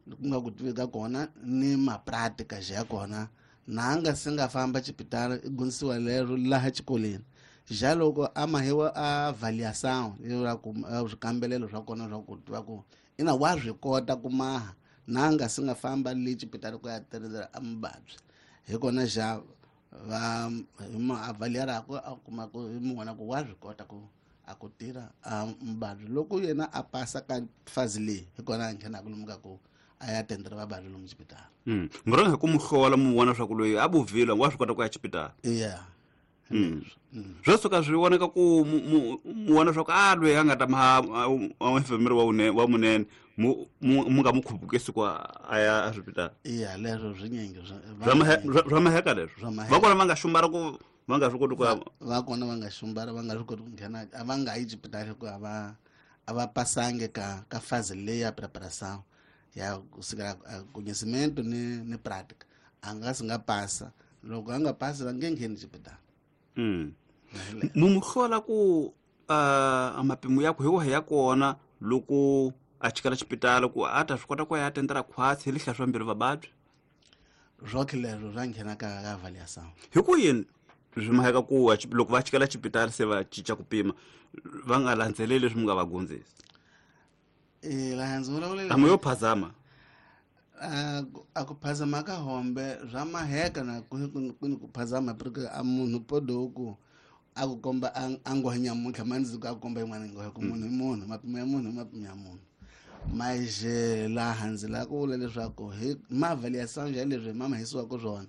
ku nga ku tivi ka kona ni mapráticas ya kona. Na a nga se nga famba xipitali, i gondzisiwa lero laha xikolweni xa loko a mahiwa a avaliação ku swikambelelo swa kona swa ku tiva ku ina wa swi kota ku maha na a nga se nga famba le xipitali ku ya tirhela a muvabyi. Hi kona xa va hi ma avaliarako, a kuma ku hi mu vona ku wa swi kota ku a ku tirha a muvabyi. Loko yena a pasa ka fazi leyi, hi kona a nghenaka lomu ka ku a ya tendela vavabyi lomu xipitali. Murhanga hi ku mu hlola, mu vona swa ku loyi a buvile wa swi kota ku ya xipitali. Yeah. Swo suka swi vonaka ku mu vona swa ku a loyi a nga ta ma enfermeiro wa munene, mu nga mu khupukisi ku a ya eswipitali. Iya, leswo swinyingi. Swa maheka leswo. Swa maheka. Va kona va nga xumbara ku va nga swi koti ku ya? Va kona va nga xumbara, va nga swi koti ku nghena, a va nga yi xipitali hikuva a va pasangi ka fase leyi ya preparação ya kusukela conhecimento ni prática. A nga si nga pasa. Loko a nga pasi, va nge ngheni xipitali. Mu mu hlola ku a mapimo ya ku hi wahi ya kona loko a chikela xipitali ku a ta swi kota ku ya tendela khwatsi hi lihla swa mbilu vavabyi? Swokhe leswo swa nghena ka avaliação. Hi ku yini swi maheka ku loko va chikela xipitali se va cinca ku pima, va nga landzeleli leswi mi nga va gondzisa? Laha ndzi vulavulele A mu yo phazama. A ku phazama ka hombe swa maheka na ku ku phazama porque a munhu podo ku a ku komba a nghohe nyamuntlha mandzuku a ku komba yin'wana nghohe ku munhu i munhu, mapimo ya munhu i mapimo ya munhu. Mas laha ndzi lava ku vula leswaku hi maavaliação ya leswi hi mamahisiwaka swona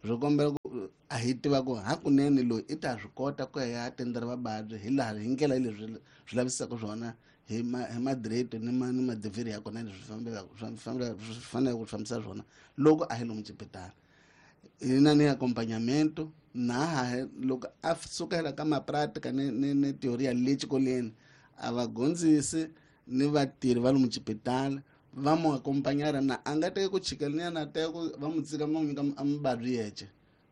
swi kombela ku a hi tiva ku hakunene loyi i ta swi kota ku ya tendera vavabyi hi laha hi ndlela leswi swi lavisaka swona hi madireto ni madivhiri ya kona leswi swi faneleke ku fambisa swona loko a hi lomu xipitala. Hina ni accompagnamento na loko a sukela ka mapratika ni teoria le xikolweni a va gondzisi ni vatirhi va lomu xipitala va mu accompagnara na a nga teki ku chikela na teka ku va mu tsika va n'wi nyika a muvabyi yexe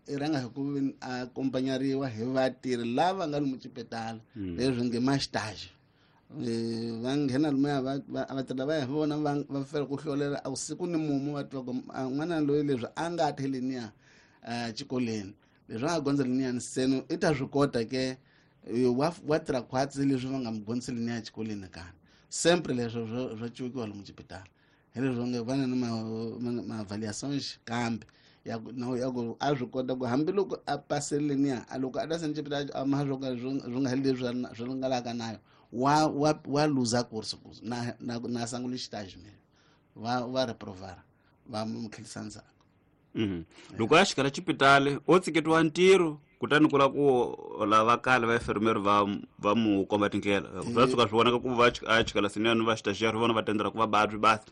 i rhanga hi ku accompagnariwa hi vatirhi lava nga lomu xipitala leswi nge ma stage va nghena lomuya vatirhi lavaya hi vona va fela ku hlolela a siku ni mumu va tiva ku n'wana loyi leswi a nga theleniya xikolweni leswi a nga gondza leniyani seno i ta swi kota ke wa tirha khwatsi leswi va nga mu gondzisi leniya xikolweni kana sempre leswo swa cukiwa lomu xipitala hi leswi nge va na ni maavaliations kambe ya ku a swi kota ku hambiloko a pasele leniya a loko a ta seni xipitala a ma swo ka swi nga heli leswi swi nga laka nayo wa luza course na na na sangula xitaji me va reprovara va mu tlhelisa ndzhaku. Loko a xikala xipitali o tsiketiwa ntirho kutani ku lava ku lava kale va enfermeiro va mu komba tindlela swa tshuka swi vonaka ku va a chikala sinene va xitaxiya vona va tendela ku vababyi basi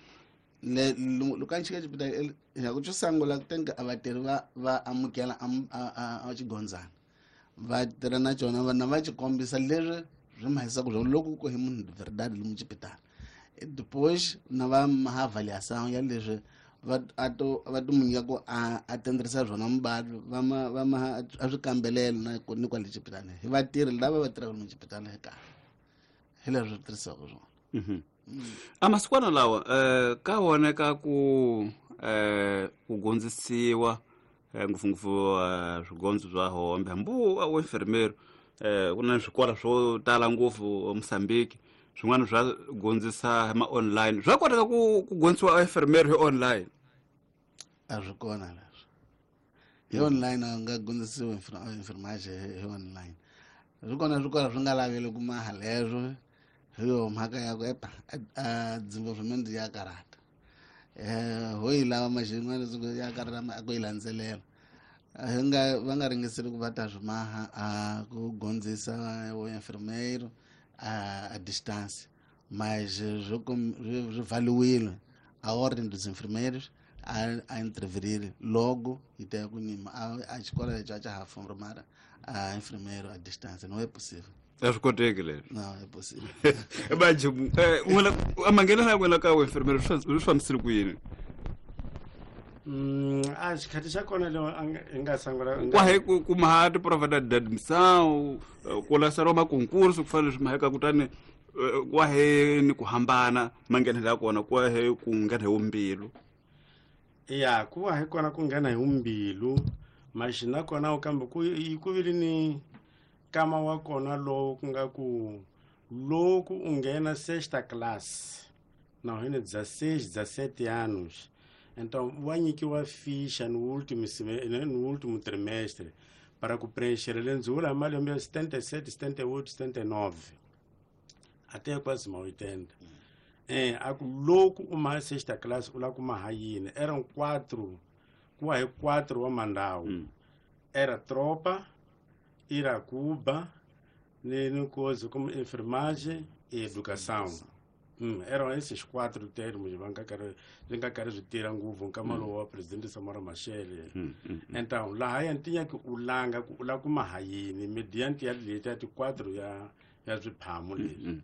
le loko a chika xipitali ya ku xo sungula ku tenga a vatirhi va amukela a xigondzana va tirha na cona vana va xi kombisa leswi swi mahisaka swona loko ku hi munhu verdade lomu xipitala depois na va maha avaliação ya leswi va to mu nyika ku a tenderisa swona muvabyi va ma a swi kambelela na ni kwale xipitala hi vatirhi lava va tirhaka lomu xipitala hi kahle hi leswi swi tirhisiwaka swona. A masikwana lawa ka voneka ku ku gondzisiwa ngopfungopfu swigondzo swa hombe hambi wa enfermeiro ku na swikolo swo tala ngopfu Mozambique swin'wana swa gondzisa ma online swa koteka ku gondzisiwa enfermeiro hi online a swi kona leswi hi online a nga gondzisiwa enfermage hi online swi kona swikolo swi nga laveli ku maha leswo hi yo mhaka ya ku epa a desenvolvimento ya karata ho yi lava maxin'wana ya karata a ku yi landzelela hi nga va nga ringeseli ku va ta swi maha a ku gondzisa enfermeiro a distância mas swi valiwile a ordem dos enfermeiros a interferir logo e tem ku nima a escola já já formar a enfermeiro a distância não é possível. A swi koteki leswi. Não é possível. Baji n'wina a manghenela ya n'wina ka enfermeiro swi fambisile ku yini? A xikhathi xa kona leo hi nga sungula kwahe ku maha ti-prova da admissão ku laseriwa makonkurso ku fana leswi maheka kutani kwahe ni ku hambana manghenelo ya kona kwahe ku nghena hi wumbilu. Ya ku va hi kona ku nghena hi wumbilu maxi na kona kambe ku ku vile ni kama wa kona lowu ku nga ku loko u nghena sexta class na hina 16 17 anos então wa nyikiwa ficha no último no último trimestre para ku preencher lenzula malembe ya 77 78 79 até quase ma 80 a ku loko u maha sexta class u lava ku maha yini eram 4 ku wa hi 4 wa mandawu era tropa Iracuba ni coisa como enfermagem e educação. Eram esses 4 termos va nga karhi swi nga karhi swi tirha ngopfu nkama lowu wa presidente Samora Machel. Então laha ya ntinya ku u langa ku u lava ku maha yini mediante ya leti ya ti 4 ya swiphamu leswi.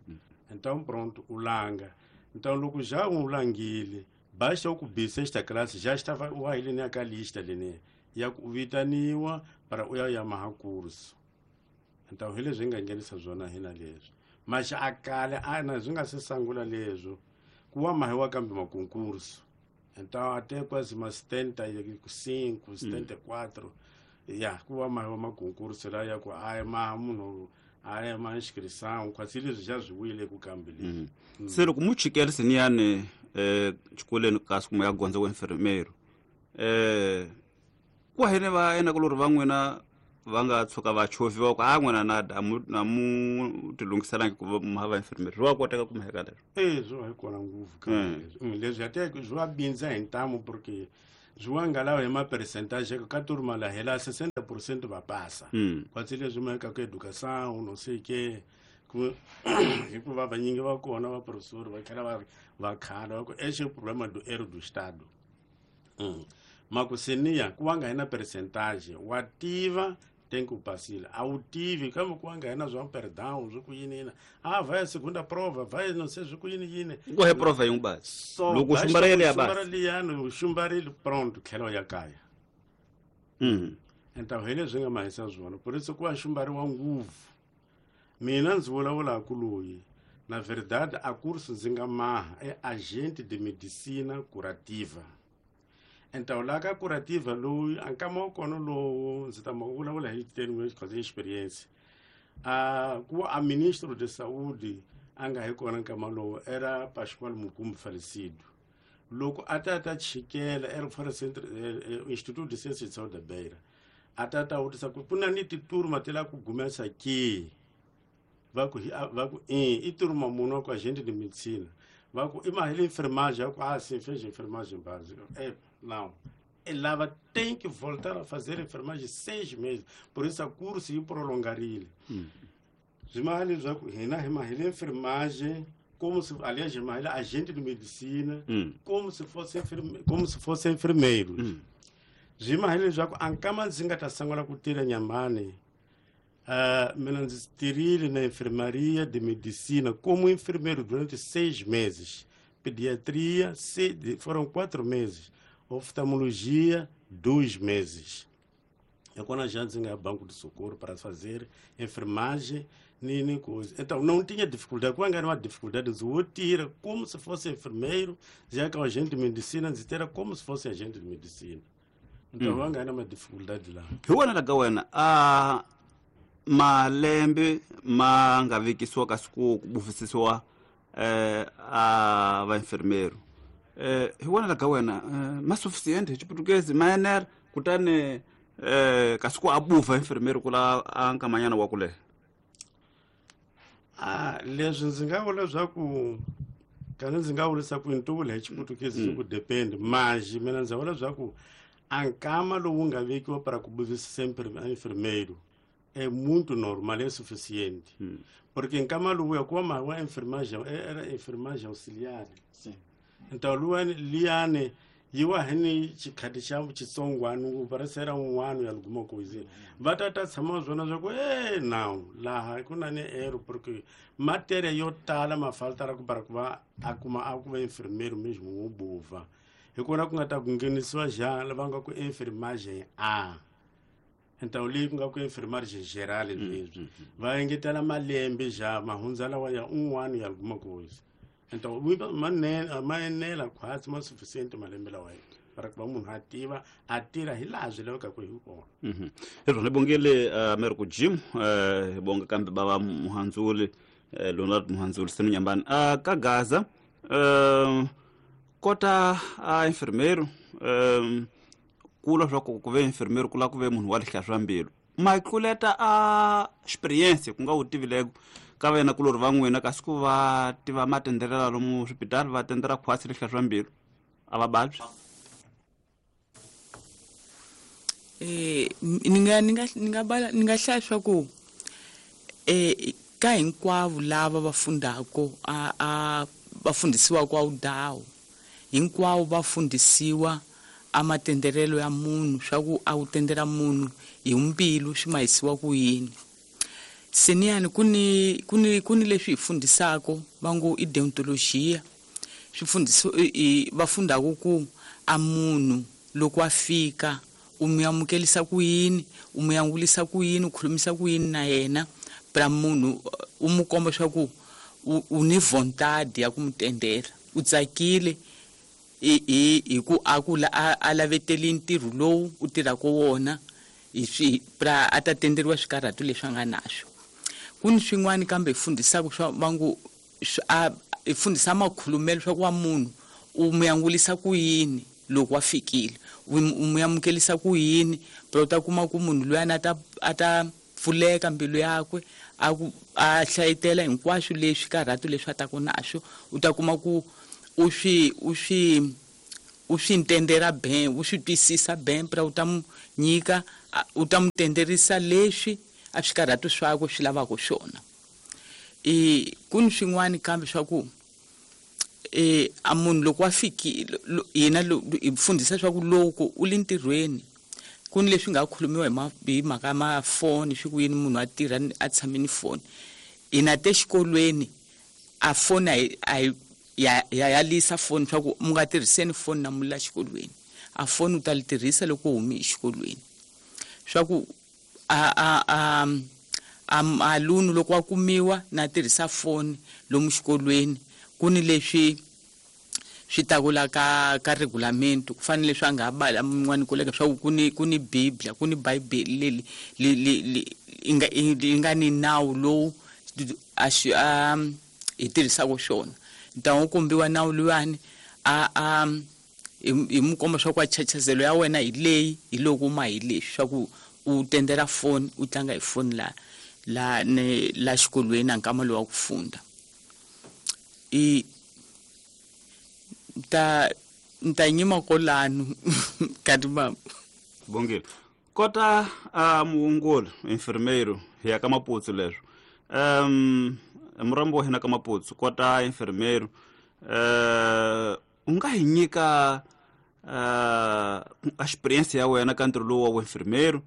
Então pronto u langa. Então loko já u langile basta ku bi sexta classe já estava u wa ile ka lista leni ya ku vitaniwa para u ya maha curso. Então hi leswi hi nga nghenisa swona hina leswi maxi a kale a na swi nga se sungula leswo ku wa mahiwa kambe makonkurso. Então até quase ma 75 74 ya ku wa mahiwa makonkurso la ya ku a maha munhu a ya ma inscrição quase leswi xa swi wile ku kambe leswi. Se loko mu chikela siniyani xikolweni kasi kuma ya gondza wa enfermeiro ku hene va ena ku lori va n'wina va nga tshuka va chovhiwa ku a n'wina na na mu tilunghiselangi ku va ma va enfermeiro swi wa koteka ku mheka leswo e swi va hi kona ngopfu ka leswi leswi ya teka swi va bindza hi ntamu porque swi wa nga lawa hi ma-percentage ka turma la hela 60% va pasa kwatsi leswi ma ka ku educação não sei que ku hikuva vanyingi va kona va professor va tlhela va va khala va ku esse é o problema do erro do estado makuseniya ku wa nga hi na percentage wa tiva tem que pasile a wu tivi kambe ku wa nga hi na swa perdão swi ku yini yini a vai segunda prova vai não sei swi ku yini yini ku he prova yin'we basi so loko u xumbarile ya xumbara basi liyani u xumbarile pronto tlhela u ya kaya Então hi leswi nga mahisa swona por isso ku va xumbariwa ngopfu mina ndzi vulavulaka loyi na verdade a curso ndzi nga maha é agente de medicina curativa então laha ka curativa loyi a nkama wa kona lowu ndzi ta ma vulavula hi termo causa experience a ku a ministro de saúde a nga hi kona nkama lowu era Pascoal Mukumbi falecido loko a ta ta chikela era fora centro Instituto de Ciências de Saúde da Beira a ta ta vutisa ku ku na ni titurma ti lava ku gumesa ke va ku va ku i turma munhu wa ku agente de medicina va ku i mahele enfermagem va ku ah sim fez enfermagem básica é não ela tem que voltar a fazer enfermagem 6 meses por isso a curso yi prolongarile swi maha leswaku hina hi mahele enfermagem como se aliás hi mahele agente de medicina como se fosse como se fosse enfermeiro swi mahele leswaku a nkama ndzi nga ta sungula ku tirha nyamani mina ndzi tirhile na enfermaria de medicina como enfermeiro durante 6 meses pediatria foram 4 meses oftalmologia 2 meses é quando a gente nga banco de socorro para fazer enfermagem nem coisa então não tinha dificuldade quando era uma dificuldade eu tira como se fosse enfermeiro já que é agente de medicina ndzi tira como se fosse agente de medicina então va nga na uma dificuldade lá hi wena la ka wena a malembe ma nga vekisiwa kasi ku bufisisiwa a va enfermeiro hi wena la ka wena ma suficiente hi xiputukezi ma enela kutani kasi ku a buva enfermeiro ku la a nkamanyana wa ku leha a leswi ndzi nga vula leswaku kani ndzi nga vurisa ku ni vula hi xiputukezi swi ku depend mas mina ndzi vula leswaku a nkama lowu nga vekiwa para ku buvisisa enfermeiro é muito normal é suficiente porque nkama lowuya ku va wa enfermagem era enfermagem auxiliar Sim. então luwani liyani yi wa hi ni xikhati xa xitsongwana ngopfu parece era un'wana ya alguma coisa va ta ta tshama swona swa ku e now laha ku na ni ero porque matéria yo tala ma faltara ku para ku va a kuma a ku va enfermeiro mesmo wo bova hi kona ku nga ta ku nghenisiwa xa lava nga ku enfermagem a então leyi ku nga ku enfermagem geral leswi va engetela malembe xa mahundza lawa ya un'wana ya alguma coisa então ma enela khwatsi ma suficiente malembe lawa para ku va munhu a tiva a tirha hi laha swi lavekaka hi kona hi rona hi bongile Americo Jim hi bonga kambe bava Muhandzuli Leonard Muhandzuli senu Nyambani ka Gaza kota a enfermeiro kula swa ku ve enfermeiro ku lava ku ve munhu wa lihlaya swa mbilu ma tluleta a experience ku nga wu tivileko ka vena kulori va n'wina kasi ku va tiva matenderela lomu swipitali va tendera khwasi lihlaya swa mbilu a va vabyi ni nga ni nga ni nga bala ni nga hlaya swa ku ka hinkwavo lava va fundako a va fundisiwaka a wudawu hinkwavo va fundisiwa a matenderelo ya munhu swa ku a wu tendela munhu hi mbilu swi mahisiwa ku yini seniyani ku ni ku ni ku ni leswi hi fundisako va ngo i deontologia swi fundisiwa va fundaka ku a munhu loko a fika u mu amukelisa ku yini u mu angulisa ku yini u khulumisa ku yini na yena pra munhu u mu komba swa ku u ni vontade ya ku mu tendela u tsakile hi ku a ku a laveteli ntirho lowu u tirhaka wona hi swi pra a ta tenderiwa swikarhatu leswi a nga naswo ku ni swin'wana kambe hi fundisaka swa va ngo a hi fundisa makhulumelo swa ku wa munhu u mu yangulisa ku yini loko wa fikile, u mu amukelisa ku yini, phela u ta kuma ku munhu luyani a ta pfuleka mbilu yakwe, a ku a hlayetela hinkwaswo leswi karhato leswi a taku naswo, u ta kuma ku u swi u swi u swi ntendera ben, u swi twisisa ben, phela u ta mu nyika, u ta mu tenderisa leswi a swikarhato swakwe swi lavaka swona. Ku ni swin'wana kambe swa ku a munhu loko wa fikile, hina hi fundhisa swa ku loko u le ntirhweni, ku ni leswi nga khulumiwa hi mhaka ya mafoni, swi ku yini munhu a tirha a tshame ni foni. Hina te xikolweni a foni a hi ya yalisa foni swa ku mu nga tirhiseni foni na mu la xikolweni, a foni u ta li tirhisa loko u humi exikolweni. Swa ku a lunu loko wa kumiwa na tirhisa foni lomu xikolweni, ku ni leswi swi takula ka regulamento, ku fanele leswi a nga bala mun'wani koleka swa ku ku ni Biblia, ku ni Bibele le yi nga ni nawu lowu a xi, a hi tirhisaka swona. Ntango kombiwa nawu luwani, a hi mu komba swa ku a chachazelo ya wena hi leyi, hi loko ma hi leswi swa ku u tendela foni, u tlanga hi foni la ne la xikolweni na nkama lowu wa ku funda. I ta nyima kolano kati mama. Bongile. Kota a muongori enfermeiro hi ya ka Maputsu leswo. Murambo wa hina ka Maputsu kota enfermeiro, u nga hi nyika experience ya wena ka ntirho lowu wa enfermeiro,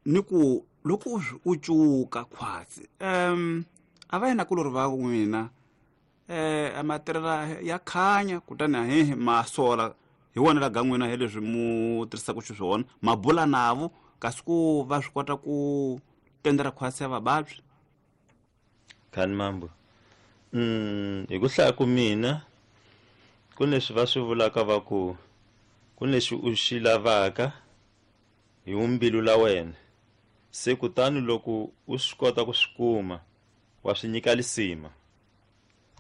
ni ku loko u cuka khwatsi, a va yena kulori va n'wina, a matirhela ya khanya, kutani a hehe ma sola hi wona la ga n'wina hi leswi mu tirhisaka xiswona, ma bula navo kasi ku va swi kota ku tendera khwatsi ya vavabyi. Khani mambo. Hi ku hlaya ku mina, ku leswi va swi vulaka va ku, ku leswi u xi lavaka hi mbilu la wena, se kutani loko u swi kota ku swi kuma, wa swi nyika lisima.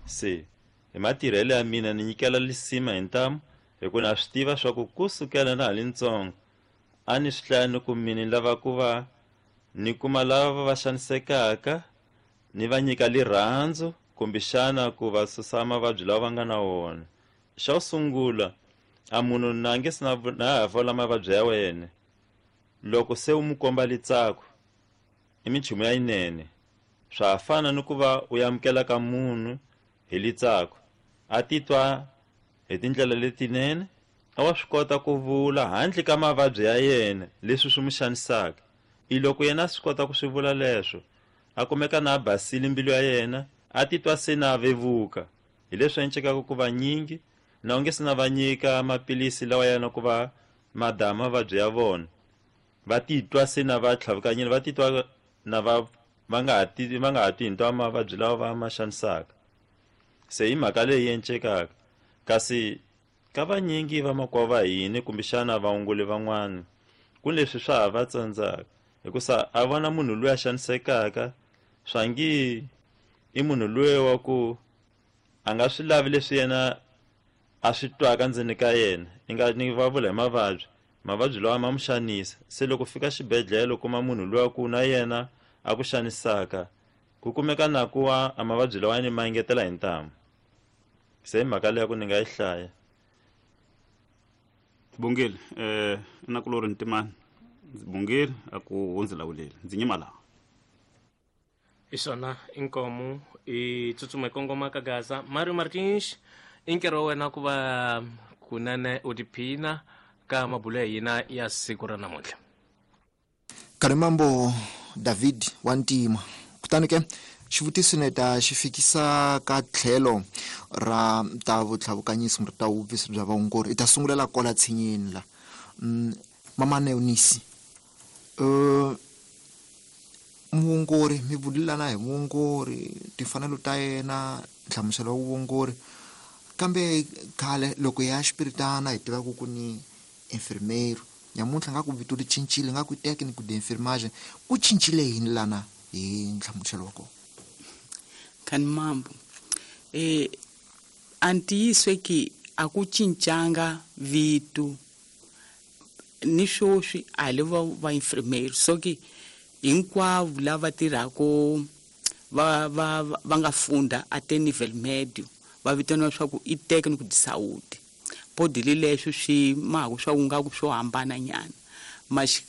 Se hi matirhelo ya mina ni nyikela lisima hi ntamu, hi ku na swi tiva swa ku kusukela na ha li ntsongo a ni swi hlaya ni ku mina ni lava ku va ni kuma lava va xanisekaka, ni va nyika lirhandzu kumbexana ku va susa mavabyi lawa va nga na wona. Xa ku sungula, a munhu na nge se na ha vola mavabyi ya wena, loko se u mu komba litsako i minchumu ya yinene. Swa fana ni ku va u amukela ka munhu hi litsako, a titwa hi tindlela letinene, a wa swi kota ku vula handle ka mavabyi ya yena leswi swi mu xanisaka. I loko yena a swi kota ku swi vula leswo, a kumeka na a basile mbilu ya yena, a titwa se na vevuka. Hi leswi encekaka ku va nyingi, na u nge se na va nyika maphilisi lawa yana ku va madama mavabyi ya vona, va titwa se na va tlhavukanyile, va titwa na va, va nga ha ti, va nga ha twi hinto mavabyi lawa va ma xanisaka. Se hi mhaka leyi encekaka. Kasi ka vanyingi vamakwavo va hina kumbexana vaongori van'wana, ku leswi swa ha va tsandzaka, hikusa a vona munhu loyi a xanisekaka, swa ngi i munhu loyi wa ku a nga swi lavi leswi yena a swi twaka ndzeni ka yena. Ni nga ni va vula hi mavabyi, mavabyi lawa ma mu xanisa. Se loko fika xibedhlele u kuma munhu loyi ku na yena a ku xanisaka, ku kumeka na ku wa a mavabyi lawa ni ma engetela hi ntamu. Se hi mhaka leyi ku ni nga yi hlaya. Bongile, na ku lori Ntimani. Ndzi Bongile a ku hundzi lawuleli. Ndzi nyima laha. Hi swona inkomu i tsutsuma hi kongoma ka Gaza. Mario Martins, i nkarhi wa wena ku va kunene u tiphina ka mabulo ya hina ya siku ra namuntlha. Karimambo David wa Ntima. Kutani ke xivutiso ni ta xi fikisa ka tlhelo ra ta vutlhavukanyisi kumbe ta vuvisi bya vaongori. I ta sungulela kwala tshinyeni la. Mama Neonisi, muongori, mi vulelana hi muongori, timfanelo ta yena, nhlamuselo wa vuongori. Kambe khale loko hi ya xipiritana hi tiva ku ku ni enfermeiro, nyamuntlha nga ku vito ri cincile, nga ku técnico de enfermagem, ku cincile yini lana hi nhlamuselo wa kona? Kani mambo, A ntiyiso ki a ku cincanga vito ni swoswi a hi le va va infirmeiro, so ki hinkwavo lava tirhako va nga funda a te nível médio va vitaniwa swa ku i técnico de saúde. Podile leswo swi mahaku swa ku nga ku swo hambana nyana. Mas